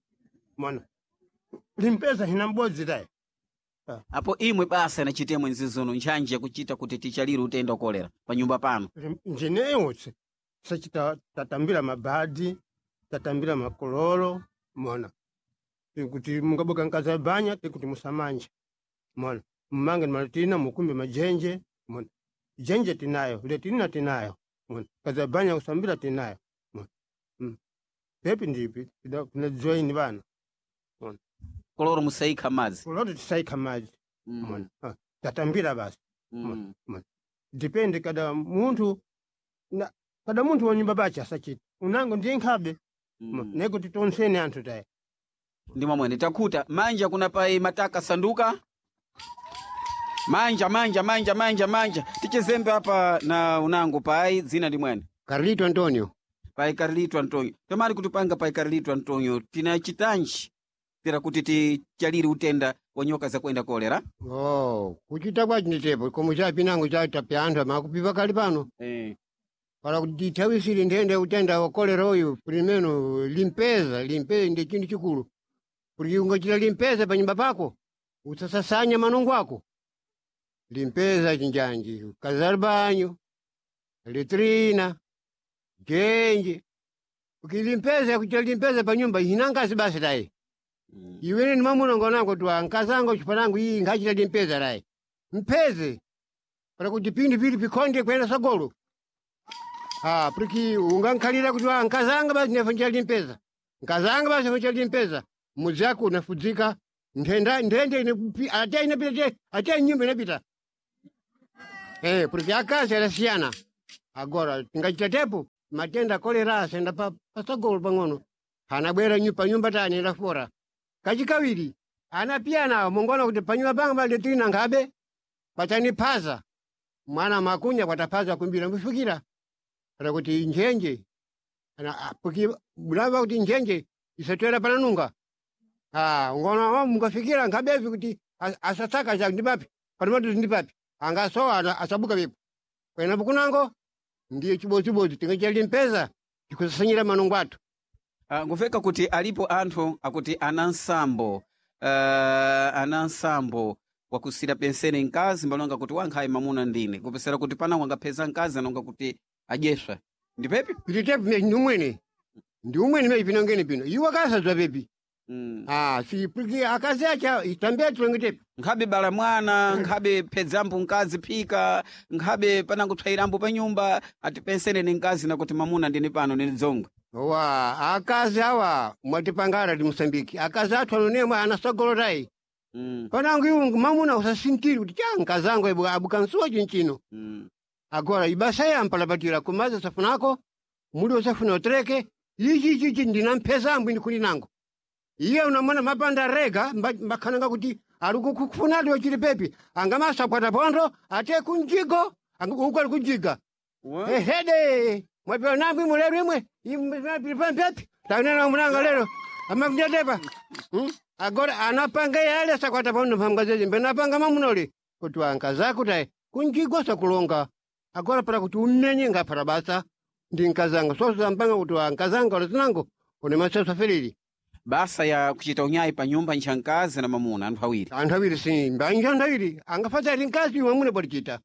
Mwana. Limpeza hina mbodzi tayi. Apo imwe basa na chitemu nzizono ntchanje yakuchita kuti tichalire utenda kolera pa nyumba pano Njeneyo sachita tatambira mabadi, tatambira makololo, mwana. Kuti mungaboka nkaza banya tikuti musamanje. Mwana. Mmange malatina mukumbe majenje, mwana. Jenje tinayo, letina tinayo. Mwana. Kaza banya kusambira tinayo. Mwana. Pepi ndipi, kuna join bana. Mwana. Koloro musaikha madzi. Koloro tisaikha madzi. Mwana. Tatambira basi. Mwana. Mwana. Depende kada munthu na kada munthu wa nyumba bachi asachita. Unango ndiye nkhabe. Nekuti tonsene anthu tayi. Ndi mwamwene takhuta manja kuna pai Mataka Sanduka manja manja manja manja manja tichezembe apa na unango pai dzina ndi mwene Carlito Antonio. Pai Carlito Antonio tamari kutipanga pai Carlito Antonio tina chitanji tira kuti tichalire utenda wa nyoka zakuenda kolera Oh, kuchita kwachi nditepo komo chapinango chatapya anthu amakupipa kali pano. Para kuti tithawisire nthenda utenda wa kolera uyu primeno limpeza, limpeza ndi chinthu chikulu. Kuti ungachita limpeza pa nyumba pako, usasasanya manungo ako. Limpeza chinjanji, kazalibanyo, letrina, jenje. Ukilimpeza kuchita limpeza pa nyumba inangazi basi tayi. Iwene ni mamuna ngonango tu ankazango chipanango iyi ngachita limpeza rayi. Mpeze. Para kuti pindu pili pikonde kwenda sagolo. Ah, porque ungankhalira kuti ah, nkazanga basi nefa limpeza. Nkazanga basi nefa limpeza. Mudzi yako unafudzika. Nthenda nthende ine ate inapita te ate nyumba inapita. Eh, porque akazi alasiyana. Agora tingachita tepo matenda kolera asenda pa pasagolo pang'ono. Anabwera pa nyumba tani ndafora. Kachikawiri anapiyana mungona kuti panyumba panga pali tina ngabe pachaniphaza mwana makunya kwataphaza kumbira mbifikira kana kuti njenje ana porque bulava kuti njenje isatwera pananunga ah ngona oh, mungafikira ngabevi kuti asataka ja ndipapi panomatu ndipapi angasowa asabuka vipo kwena kunango ndiye chibodzibozi tingachalimpeza tikusasanyira manungo athu. Nguveka kuti alipo anthu akuti ana nsambo ana nsambo wakusira pensene mkazi mbalonga kuti wankhayi mamuna ndine kupesera kuti panango angapheza mkazi anonga kuti adyeswa ndipepi pititepi ndi umwene ndi umwene meyi pinongene pino iwo akasadzwa pepi. Ah, si porque akazi acha itambia tilongetepi nkhabe bala mwana nkhabe phedzambo mkazi phika nkhabe panango psairambo pa nyumba ati pensene ni mkazi nakuti mamuna ndine pano ndine dzongwe. Wa akazi awa mwatipangara di Mosambiki akazi athu anonemwe anasogolorai. Panango iwo mamuna usasintiri kuti cha nkazangu abukansuwa chinchino. Agora ibasa yampalapatira kumaza safunako muli usafuna utereke ichi ichi ichi ndina ambu ndikuli nango iye unamona mapanda rega mbakhananga kuti ali kukufunadi wachili pepi angamasakwata pondo ate kunjigo uko ali kujiga ehede mwapewa nambu imwe lero imwe imwe taunena munanga lero amakunyatepa. Agora anapanga yale sakwata pondo mphamukazezi mbenapanga mamunoli kuti wankazako tayi kunjigo sakulonga agora para kuti umenye ngaphata basa ndi nkazanga soso mpanga kuti wankazanga olazinango une maseso afelili. Basa ya kuchita unyayi pa nyumba ncha mkazi na mamuna anthu awiri. Anthu awiri si mbanja anthu awiri angafata ali mkazi mwamuna polichita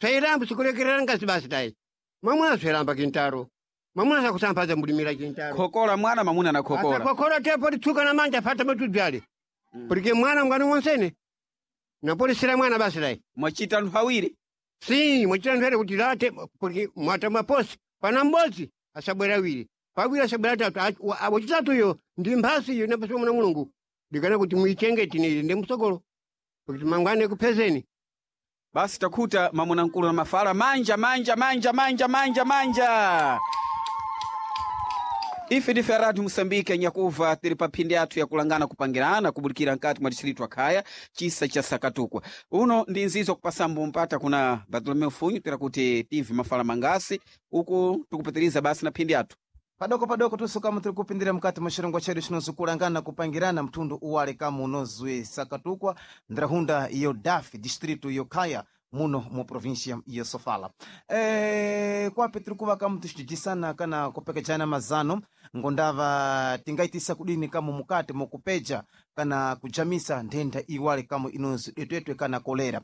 sairambo sikulekerera nkazi basi tayi mwamuna sairamba kintaro mwamuna sakusamphaza mbulimira kintaro khokola mwana mamuna na khokola akakhokola te politsuka na manja fata matudzale porque mwana mngani wonsene napolisira mwana basi tayi mwachita anthu awiri si mwachita anthu awiri kuti late porque mwata mwaposi pana m'bodzi asabwera awiri pawiri asabwera atatu wachitatuyo ndi mphasi iyo inapasiwa mwana mulungu ndikana kuti muichengeti ili ndi msogolo kuti mangwane kuphezeni. Basi takhuta mamuna mkulu na mafala manja manja manja manja manja manja. Ife ndife Radio Moçambique nyakuva tili pa phindi athu yakulangana kupangirana kubulikira nkati mwa distritu akhaya chisa cha Sakatukwa. Uno ndi nzizo kupasambo mpata kuna Bartolomeu Funyu tira kuti tive mafala mangasi uku tikupitiriza basi na phindi athu. Padoko padoko tusukamu tiri kupindira mukati mwa chirongwa chedu chinozikulangana kupangirana mtundu uwale kamu unozwi Sakatukwa ndrahunda iyo Dafi distrito yokhaya muno mu província ya Sofala. Kwape tiri kuva kamu tichijisana kana kupekejana mazano ngondava tingaitisa kudini kamu mukati mukupeja kana kujamisa nthenda iwale kamu inonzi detwetwe kana kolera.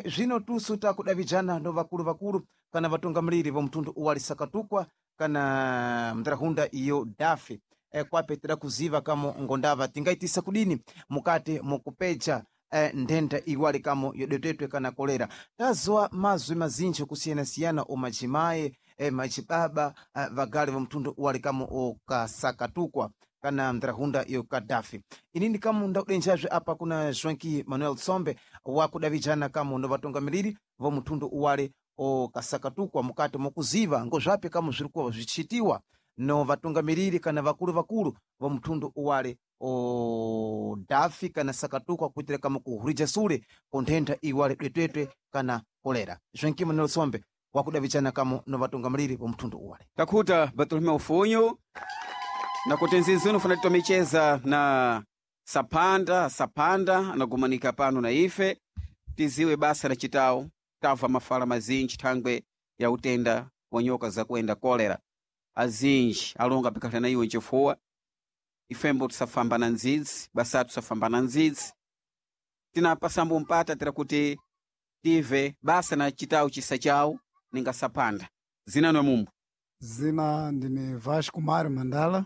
Zvino tusu takudavijana ndo vakulu vakulu kana vatungamiriri vo mtundu uwale Sakatukwa kana mndarahunda iyo Dafi. Kwape tira kuziva kamo ngondava tingaitisa kudini mukati mukupeja nthenda iwali kamo yodetetwe kana kolera. Tazwa mazwi mazinji kusiyanasiyana omajimaye machibaba vagali va mtundu uwali kamo okasakatukwa kana ndrahunda iyo Kadafi. Inini kamo ndakudenjazve apa kuna Joaquim Manuel Tsombe wakudavijana kamo ndo vatungamiriri va mtundu uwale okasakatukwa mukati mokuziva ngozvapi kamo zviri kuva zvichitiwa no vatungamiriri kana vakulu vakulu va mtundu uwale o Dafi kana Sakatukwa kuitira kama kuhurija sule ku nthenda iwale dwetwetwe kana kolera. Joaquim Manuel Tsombe wakudavichana kamo no vatungamiriri va mtundu uwale. Takhuta Bartolomeu Funyu nakuti nzinzino funa titomicheza na Sapanda Sapanda anagumanika pano na ife tiziwe basa la chitawo tamva mafala mazinji thangwe ya utenda wa nyoka zakuenda kolera azinji alonga pikhala na iwe nchifuwa ifembo tisafamba na ndzidzi basa tusafamba na ndzidzi tinapasambo mpata tira kuti tive basa na chitawo chisa chawo ninga Sapanda zinanwe mumbu. Zina ndine Vasco Mário Mandala.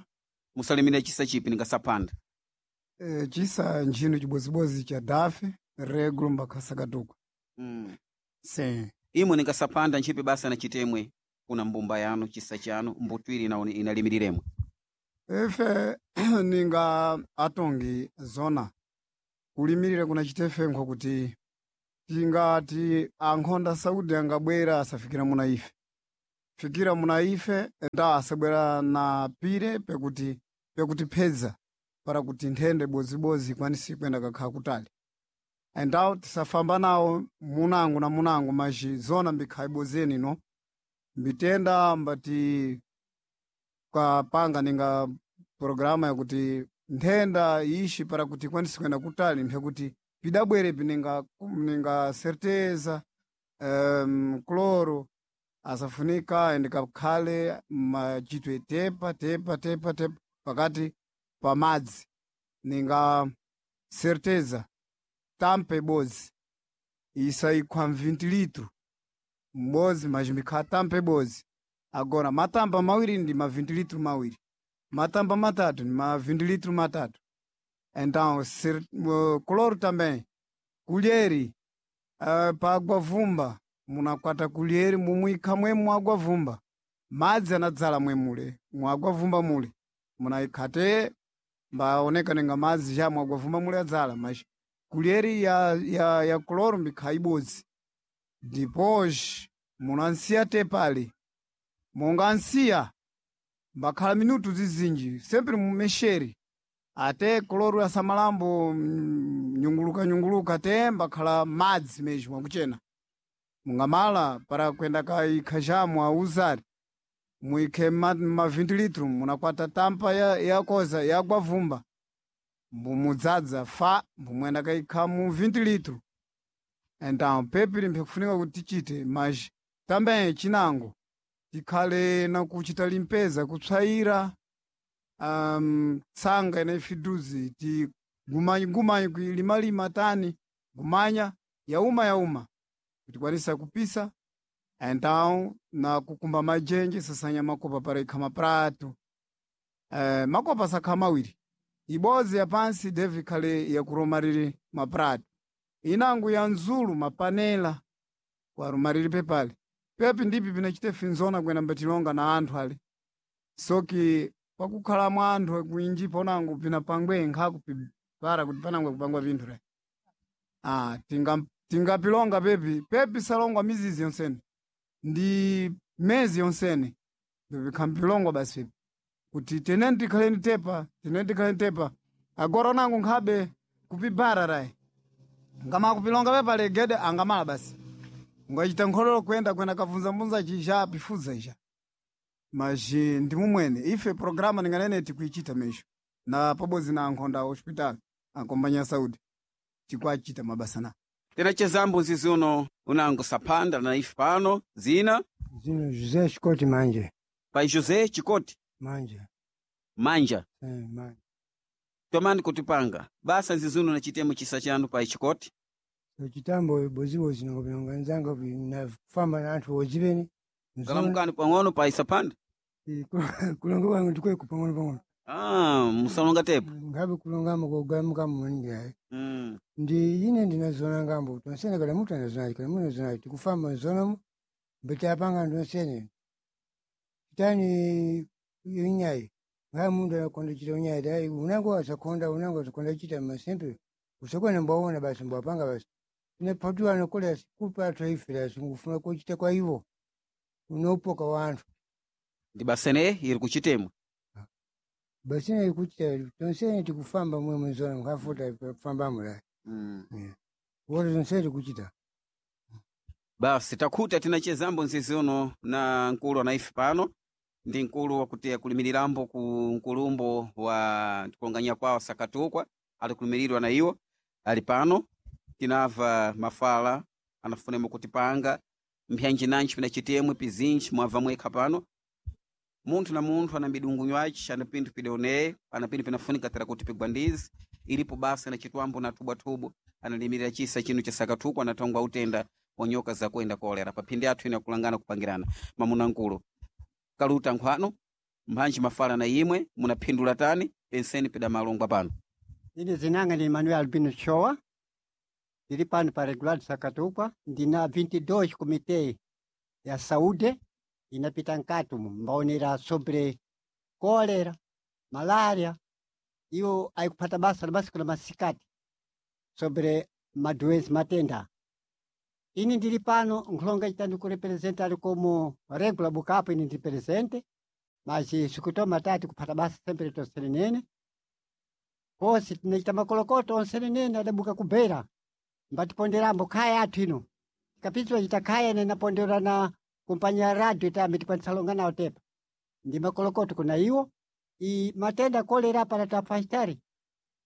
Musalimire chisa chipi ninga Sapanda? Chisa nchino chibozibodzi cha Dafe regulo mbakasakatukwa. Sim. Imwe ningasapanda ntchipi basa na chitemwe kuna mbumba yanu chisa chanu mbutwiri inalimiriremwe. Ife ninga atongi zona kulimirira kuna chitefe nkwakuti tingati ankhonda Saudi angabwera asafikira muna ife, fikira muna ife nda asabwera na pire pekuti pekutiphedza para kuti nthende bozibozi ikwanise kuyenda kakhala kutali. Endawo tisafamba nawo munango na munango, mas zona mbikhala ibozi eno mbitenda mbati kapanga ninga programa yakuti nthenda ishi para kuti ikwanise kuyenda kutali mphekuti pidabwere pininga ninga certeza cloro asafunika ende kakhale machitwe tepa tepa tepa tepa pakati pa madzi ninga certeza tampa ibodzi isaikhwa 20 litro m'bodzi mas mbikhala tampa ibodzi. Agora matamba mawiri ndi ma 20 litro mawiri, matamba matatu ndi ma 20 litro matatu. Então cloro também kulheri pa agwavumba munakwata kulheri mumwikha mwemu mwagwavumba madzi anadzala mwemule mwagwavumba mule munayikhate mbaoneka ninga madzi ja mwagwavumba mule adzala, mas kulheri ya cloro mbikhala ibodzi. Depois munansiya tepale monga ansiya mbakhala minutu zizinji sempre mumexere ate cloro asamalambo nyunguluka nyunguluka te mbakhala madzi mesmo akuchena mungamala para kwenda kaikha jamu auzari muikhe ma 20 litro munakwata tampa ya koza yagwavumba mbumudzadza fa mbumwenda kaikha mu 20 litro. Então pepiri mpekufunika kuti tichite, mas também chinango tikhale na kuchita limpeza kutswaira tsanga ina ifiduzi ti gumanyi kuilimalima tani gumanya yauma yauma kutikwanisa kupisa. Então na kukumba majenje sasanya makopa para ikha maprato makopa sakha mawiri, ibozi ya pansi devi ikhale yakuromarire maprato, inango ya nzulu mapanela kwarumarire pepale pepi ndipi pinachite finzona kwena mbatilonga na anthu ale soki pakukhala mwa anthu kuinji ponango pinapangwe nkhaku para kuti panangwe kupangwa pinthu re tingapilonga pepi pepi salongwa mizizi yonsene ndi mezi yonsene ndipikhampilongwa basi pepi kuti teneni tikhaleni tepa teneni tikhaleni tepa. Agora onango nkhabe kupibara rayi ngama kupilonga pepale gede angamala basi ungachita nkhololo kuyenda kwenda kavunzambunza chija pifudza ija mas ndi mumwene ife programa ninganene tikuichita mesho na pabodzi na ankhonda a hospital akombanya Saudi tikuachita mabasa na Tinachezambo zizuno unango sapanda na ife pano zina Zino José Chikoti Manje. Pai José Chikoti Manje. Manja. Manje. Tomani kutipanga basa nzizuno na chitemo chisa chanu pai Chikoti. So chitambo bozibozi nangopinonga nzanga nafamba na anthu ozipeni. Kalamukani pang'ono pai sapanda. Kulonga kwangu ndikweku pang'ono pang'ono. Musalonga tepo. Ngabe kulongamo kogamukamu maningi ayi. Ndi ine ndinazona ngambo tonsene kala mutu anazona kala mutu anazona tikufamba nzonamo mbetapanga ndonsene. Chitani inyayi ngaye mundu anakonda chita unyayi dai unango asakonda unango asakonda chita masempe usakona mbaona basi mbwapanga basi inapatiwa anokola kupa athu aifira singufuna kuchita kwa ivo unopoka wanthu Ndi basene iri kuchitemwe. basene iri kuchita tonsene tikufamba mwe muzona mukhafuta kufambamo dai wote tonsene tikuchita. Basi takhuta tinachezambo nzizi uno na nkulu anaife pano ndi nkulu wakuti akulimirirambo ku nkulumbo wa tikulonganya kwawo Sakatukwa alikulimirirwa na iwo ali pano tinava mafala anafunemo kutipanga mpyanji nanji pinachitemwe pizinji mwava mwekha pano munthu na munthu ana midungu yace ana pinthu pidaoneye ana pinthu pinafunika tera kuti pigwandizi ilipo basa na chitwambo na thubwathubwa analimirira chisa chino cha Sakatukwa anatongwa utenda wa nyoka zakuenda kolera paphindi athu ine akulangana kupangirana mamuna nkulu kaluta nkhwano mphanji mafala na imwe munaphindula tani penseni pida malongwa pano. Ine zinanga ndi Manuel Albino Chowa. Ndili pano pa regular Sakatukwa ndina 22 komite ya saúde inapita nkati umu mbaonera sobre cólera, malaria iwo aikupata basa na basi kuna masikati sobre madoença matenda. Ini ndili pano nkhulonga chitani kurepresenta ali como regular bukapo ini ndi presente mas sikutoma tati kuphata basa sempre tosenenene kosi tinachita makolokoto onsenenene adabuka kubera mbatiponderambo khaya athu ino tikapitwa chita khaya ine napondera na kumpanya ya radio itambe tikwanitsalonga nawo tepa ndi makolokoto kuna iwo i matenda kolera para tafastari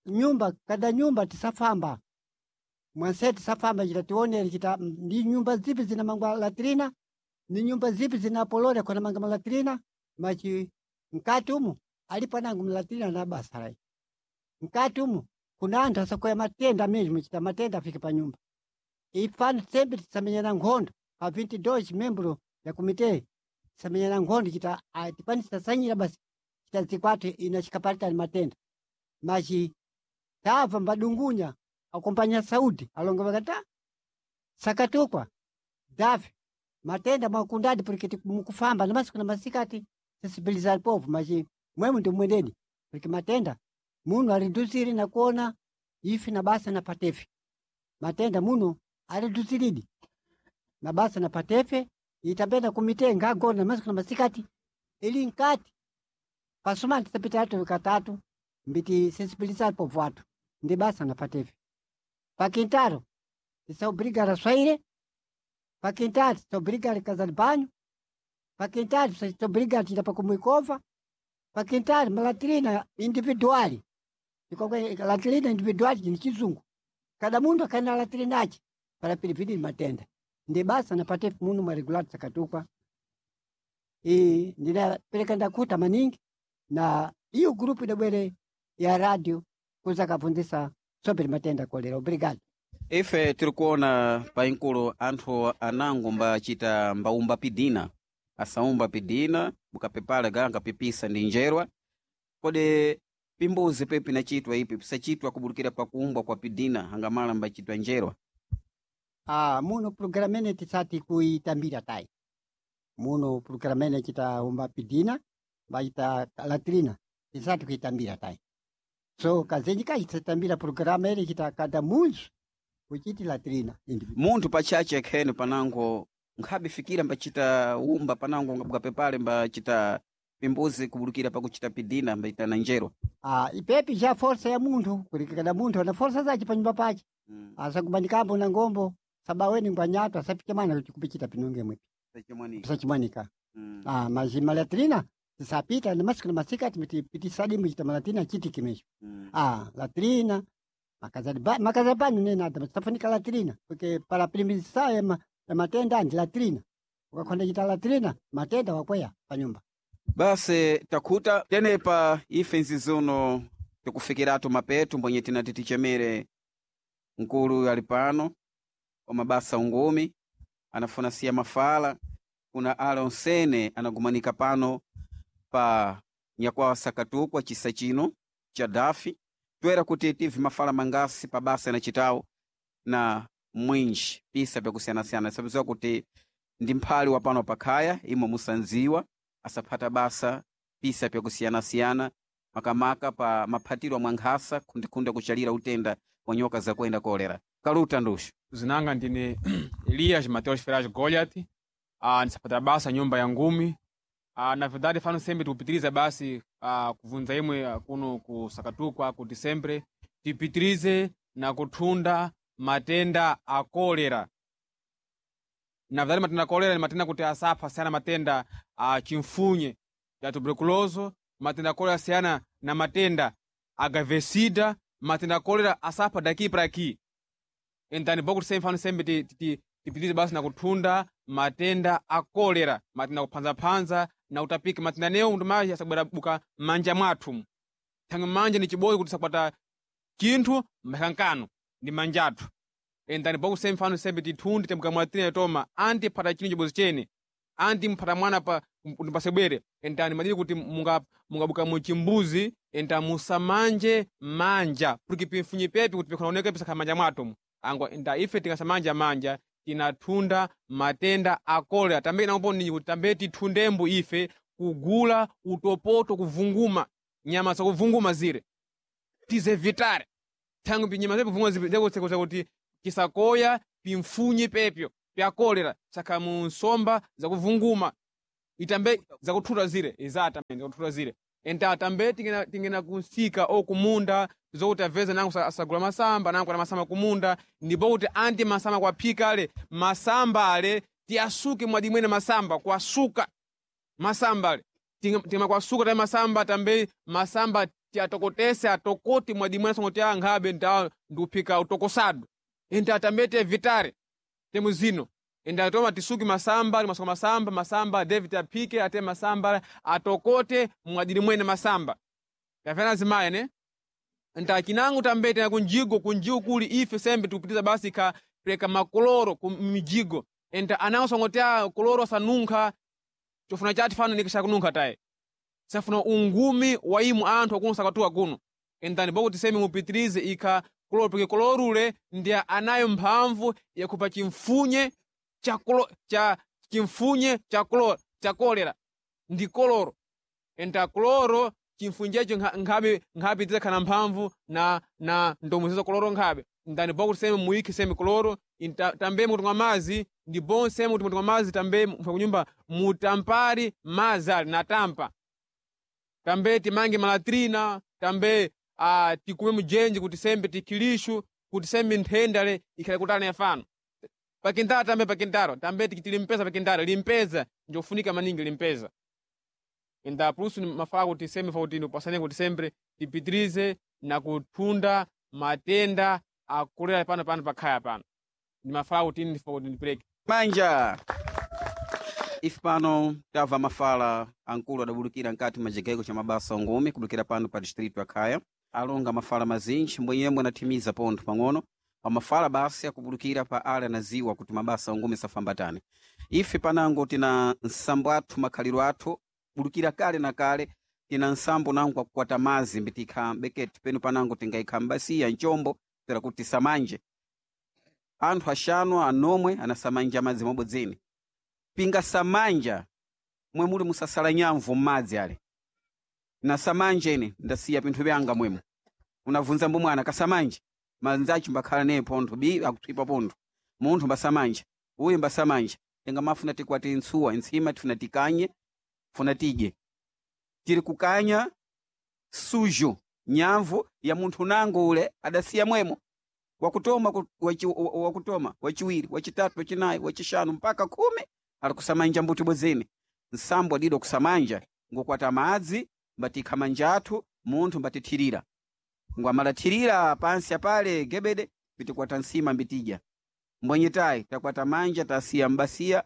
nyumba kada nyumba tisafamba mwanse tisafamba chita tionere chita ndi nyumba zipi zina mangwa latrina ni nyumba zipi zina polore kona manga malatrina machi mkati umu alipo nangu mlatrina na basarai mkati umu kuna anthu asakoya matenda mesmo chita matenda afike pa nyumba ifano sembe tisamenyana nkhondo pa 22 membro ya komite tisamenyana nkhondo chita tikwanisa sanyira basi chita zikwathu ina chikapatani matenda machi tamva mbadungunya akompanya saudi alonga vakata sakatukwa dafi matenda mwakundadi porque mukufamba na masiku na masikati sensibilizar povo machi mwemu ndi mwendeni porque matenda muno ariduziri na kuona ifi na basa na patefe matenda muno ariduziridi na basa na patefe itapenda kumite ngagona na masiku na masikati ili nkati pasumani tisapita atu katatu mbiti sensibilizar povo atu ndi basa na patefe pakintaro tisaobrigara swaire pakintaro tisaobrigara kazali banho pakintaro tisaobrigara tinda pakumwikova pakintaro malatrina individuali ikokwe latrina individuali ni chizungu kada mundu akaenda latrina achi para pilipili matenda ndi basa napate munu mwa regular sakatukwa i ndinapereka ndakuta maningi na iyo grupu idabwere ya radio kuza kapundisa sobre matenda kolera obrigado ife tiri kuona painkulo anthu anango mbachita mbaumba pidina asaumba pidina mukapepala ganga pipisa ndi njerwa kodi pimbuzi pe pinachitwa ipi pisachitwa kubulukira pakuumbwa kwa pidina angamala mbachitwa njerwa Ah, muno programa ene tisati kuitambira tai muno programa ene chita umba pidina baita latrina tisati kuitambira tai so kazenji kachitambira programa ere chita kada muzu kuchiti latrina munthu pachache khene panango nkhabifikira mbachita umba panango ngabukapepale mbachita pimbuzi kubulukira pakuchita pidina mbachita na njerwa Ah, ipepi cha força ya munthu kuti kada munthu ana força zace panyumba pace mm. Asakubandikambo na ngombo sabaweni ngwanyato asapike mwana kuti kupichita pinonge mwepi pisachimwanika Ah, mas malatrina tisapita na masiku na masika tipitisadimu chita malatrina chiti kimesho Ah, latrina makazali banho nenada tisafunika latrina porque para primizar ya, ma, ya matenda andi latrina ukakhonda chita latrina matenda wakweya panyumba basi takhuta tenepa ife nzizuno tikufikiratu mapetu mbwenye tinati tichemere nkulu ali pano wa mabasa ungumi anafuna siya mafala kuna ala onsene anagumanika pano pa nyakwawa sakatukwa chisa chino cha dafi toera kuti tive mafala mangasi pa basa inachitawo na mwinji pisa pyakusiyanasiyana sabiziwa kuti ndi mphali wa pano pakhaya imo musanziwa asaphata basa pisa pyakusiyanasiyana makamaka pa maphatiro amwe nkhasa khundikhunde kuchalira utenda wa nyoka zakuenda kolera kaluta nduxo zinanga ndine Elias Mateus Ferraz Goliath nisapata basa nyumba ya ngumi na verdade fano sempre tikupitiriza basi kuvunza imwe kuno kusakatukwa kuti sempre tipitirize na kuthunda matenda a kolera na verdade matenda a kolera ni matenda kuti asapha asiyana matenda a chimfunye ya tuberculoso matenda a kolera asiyana na matenda a gavesida matenda a kolera asapha daki para aqui entani bokuti sempre fano sempre tipitirize basi na kuthunda matenda a kolera matenda akuphanzaphanza na utapika matenda newo ndumayi asabwera buka m'manja mwathu thangwi manja ni chibodzi kuti sakwata chinthu mphakankano ndi manja athu endani boku sembe fano sembe tithundi tembuka mwatina toma anti phata chinthu chibodzi chene anti mphata mwana pa kuti pasebwere endani madili kuti mungabuka muchimbuzi enda musamanje manja porque pimfunyi pepi kuti pikhonaoneka pisakhala manja mwathu Angwa nda ife tikasamanja manja tinathunda matenda a kolera. Tambe napo ninyi kuti tambe tithundembo ife kugula utopoto kuvunguma nyama zakuvunguma zire tizevitare thangu pinyama zepuvunguma zekutsekuza kuti tisakoya pimfunye pepyo pya kolera saka mu nsomba zakuvunguma itambe zakuthuta zire izata zakuthuta zire enta tambe tingena tingena kunsika o kumunda zokuti aveze nangu asagula masamba nangu ana masamba kumunda ndipo kuti anti masamba kwaphika ale masamba ale tiyasuke mwadimwene masamba kwasuka masamba ale timakwasuka taye masamba tambe masamba tiyatokotese atokoti mwadimwene songoti ankhabe nda ndiuphika utokosado enta tambe tiyevitare temu zino enda toma tisuke masamba timasuka masamba masamba david aphike ate masamba atokote mwadili mwene masamba tafena azimaye ne nta chinango tambe tena kunjigo kunjigo kuli ife sembe tikupitiza basi ka pereka makoloro ku mijigo enta anawo songotea koloro sanunkha chofuna chati fano nikishakununkha taye safuna ungumi wa imu anthu akuno sakatuka kuno entani bokuti semi mupitirize ikha koloro peke kolorule ndiye anayo mphamvu yakupa chimfunye cha cha chimfunye cha cha kolera ndi koloro enta koloro chimfunyecho nkhabe nkhabe tidzakhala mphamvu na na ndomuzezo koloro nkhabe ndani bokuti semi muyikhe semi koloro tambe mukutunga mazi ndi bon semi kuti mutunga mazi tambe mfa kunyumba mutampari mazi ali natampa tambe timange malatrina tambe tikume mujenje kuti sembe tikilishu kuti sembe nthenda le ikhale kutali yafano pakintaro tambe pakintaro tambe tilimpeza pakintaro limpeza njofunika maningi limpeza enda plusu ni mafaa kuti sembe fakuti ndipasane kuti sembe tipitirize na kuthunda matenda akulera pano pano pakhaya pano ndi mafaa kuti ndifa kuti ndipereke manja ife pano tamva mafala ankulu adabulukira nkati machigayiko cha mabasa ongumi kubulukira pano pa distritu ya khaya alonga mafala mazinji mbwenyemwe anathimiza pontho pang'ono pamafala basi akubulukira pa ale anaziwa kuti mabasa ongumi safambatane ife panango tina nsambo athu makhaliro athu bulukira kale na kale tina nsambo nango akukwata mazi mbitikha beketi penu panango tingayikha mbasiya nchombo pera kuti tisamanje anthu axanu anomwe anasamanja madzi mwabodzeni pinga samanja mwe muli musasala nyamvu m'madzi ale na samanje ine ndasiya pinthu pyanga mwemo unavunza mbumwana kasamanje manzachi mbakhala naye pontho bi akutswipa pontho munthu mbasamanja uyu mbasamanja tingamafuna tikwati ntsuwa ntsima tifuna tikanye funa tidye tiri kukanya sujo nyamvu ya munthu nango ule adasiya mwemo wakutoma wakutoma wachiwiri wachitatu wachinayi wachishanu mpaka 10 ali kusamanja mbuti bwezene nsambo adido kusamanja ngokwata madzi mbatikha manja athu munthu mbatithirira ngwamalathirira pansi apale gebede mbitikwata nsima mbitidya mbwenyetayi takwata manja tasiya mbasiya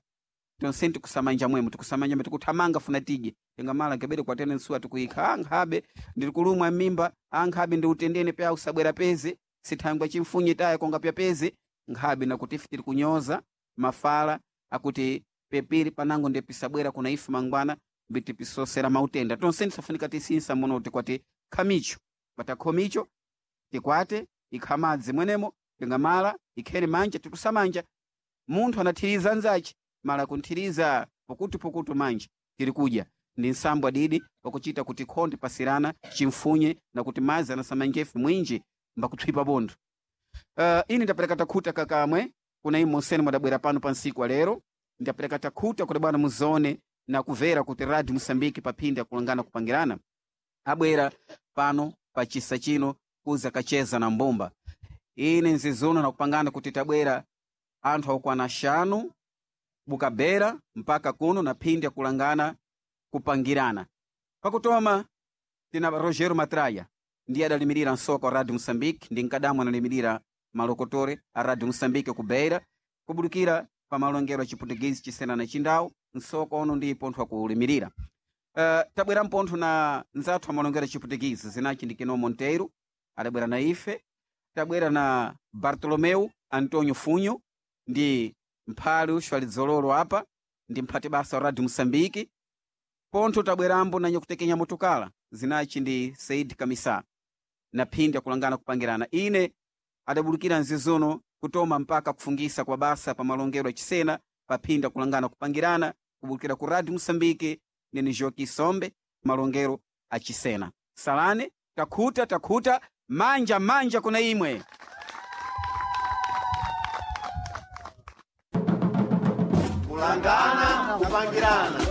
tonse tikusamanja mwemo tikusamanja mbitikuthamanga funa tidye tingamala gebede kwatene nsuwa tikuyikha ankhabe ndirikulumwa m'mimba ankhabe ndiutendene pya usabwera peze sithangwa chimfunye taya konga pyapeze nkhabe nakuti ife tiri kunyoza mafala akuti pepiri panango ndipisabwera kuna ife mangwana mbitipisosera mautenda tonse tisafunika tisinsa muno tikwati khamicho patakhomicho tikwate ikha madzi mwenemo tingamala ikhene manja tikusamanja munthu anathiriza nzachi mala kunthiriza pokutu manja tiri kudya ndi nsambo adidi pakuchita kuti khonde pasirana chimfunye na kuti madzi anasamanjefe mwinji mbakutswipa bontho. Ine ndapereka takhuta kakamwe kuna imo monsene mwadabwera pano pa nsiku alero ndapereka takhuta kuti bwana muzone na kumvera kuti radio Mosambiki paphindi akulangana kupangirana abwera pano pa chisa chino kuza kacheza na mbumba. Ine nzizono nakupangana kuti tabwera anthu akukwana 5 bukabera mpaka kuno na phindi akulangana kupangirana. Pakutoma tina Rogero Matraia ndiye adalimirira nsoka wa Radio Mosambiki ndi nkadamu analimirira malokotore a Radio Mosambiki ku Beira kubulukira pa malongero a Chiputugizi chisena na Chindau nsoka ono ndi pontho akulimirira. Tabwera mpontho na nzathu amalongero a Chiputugizi zinachi ndi Keno Monteiro adabwera na ife tabwera na Bartolomeu Antonio Funho ndi mphali uxwalidzololo apa ndi mphati basa wa Radio Mosambiki pontho tabwerambo na nyakutekenya motukala zinachi ndi Said Kamisa na phindi akulangana kupangirana. Ine adabulukira nzizono kutoma mpaka kufungisa kwa basa pa malongero achisena paphinda kulangana kupangirana kubukira ku Radio Mosambike nene Joki Sombe malongero achisena. Salane takhuta takhuta manja manja kuna imwe. Kulangana kupangirana.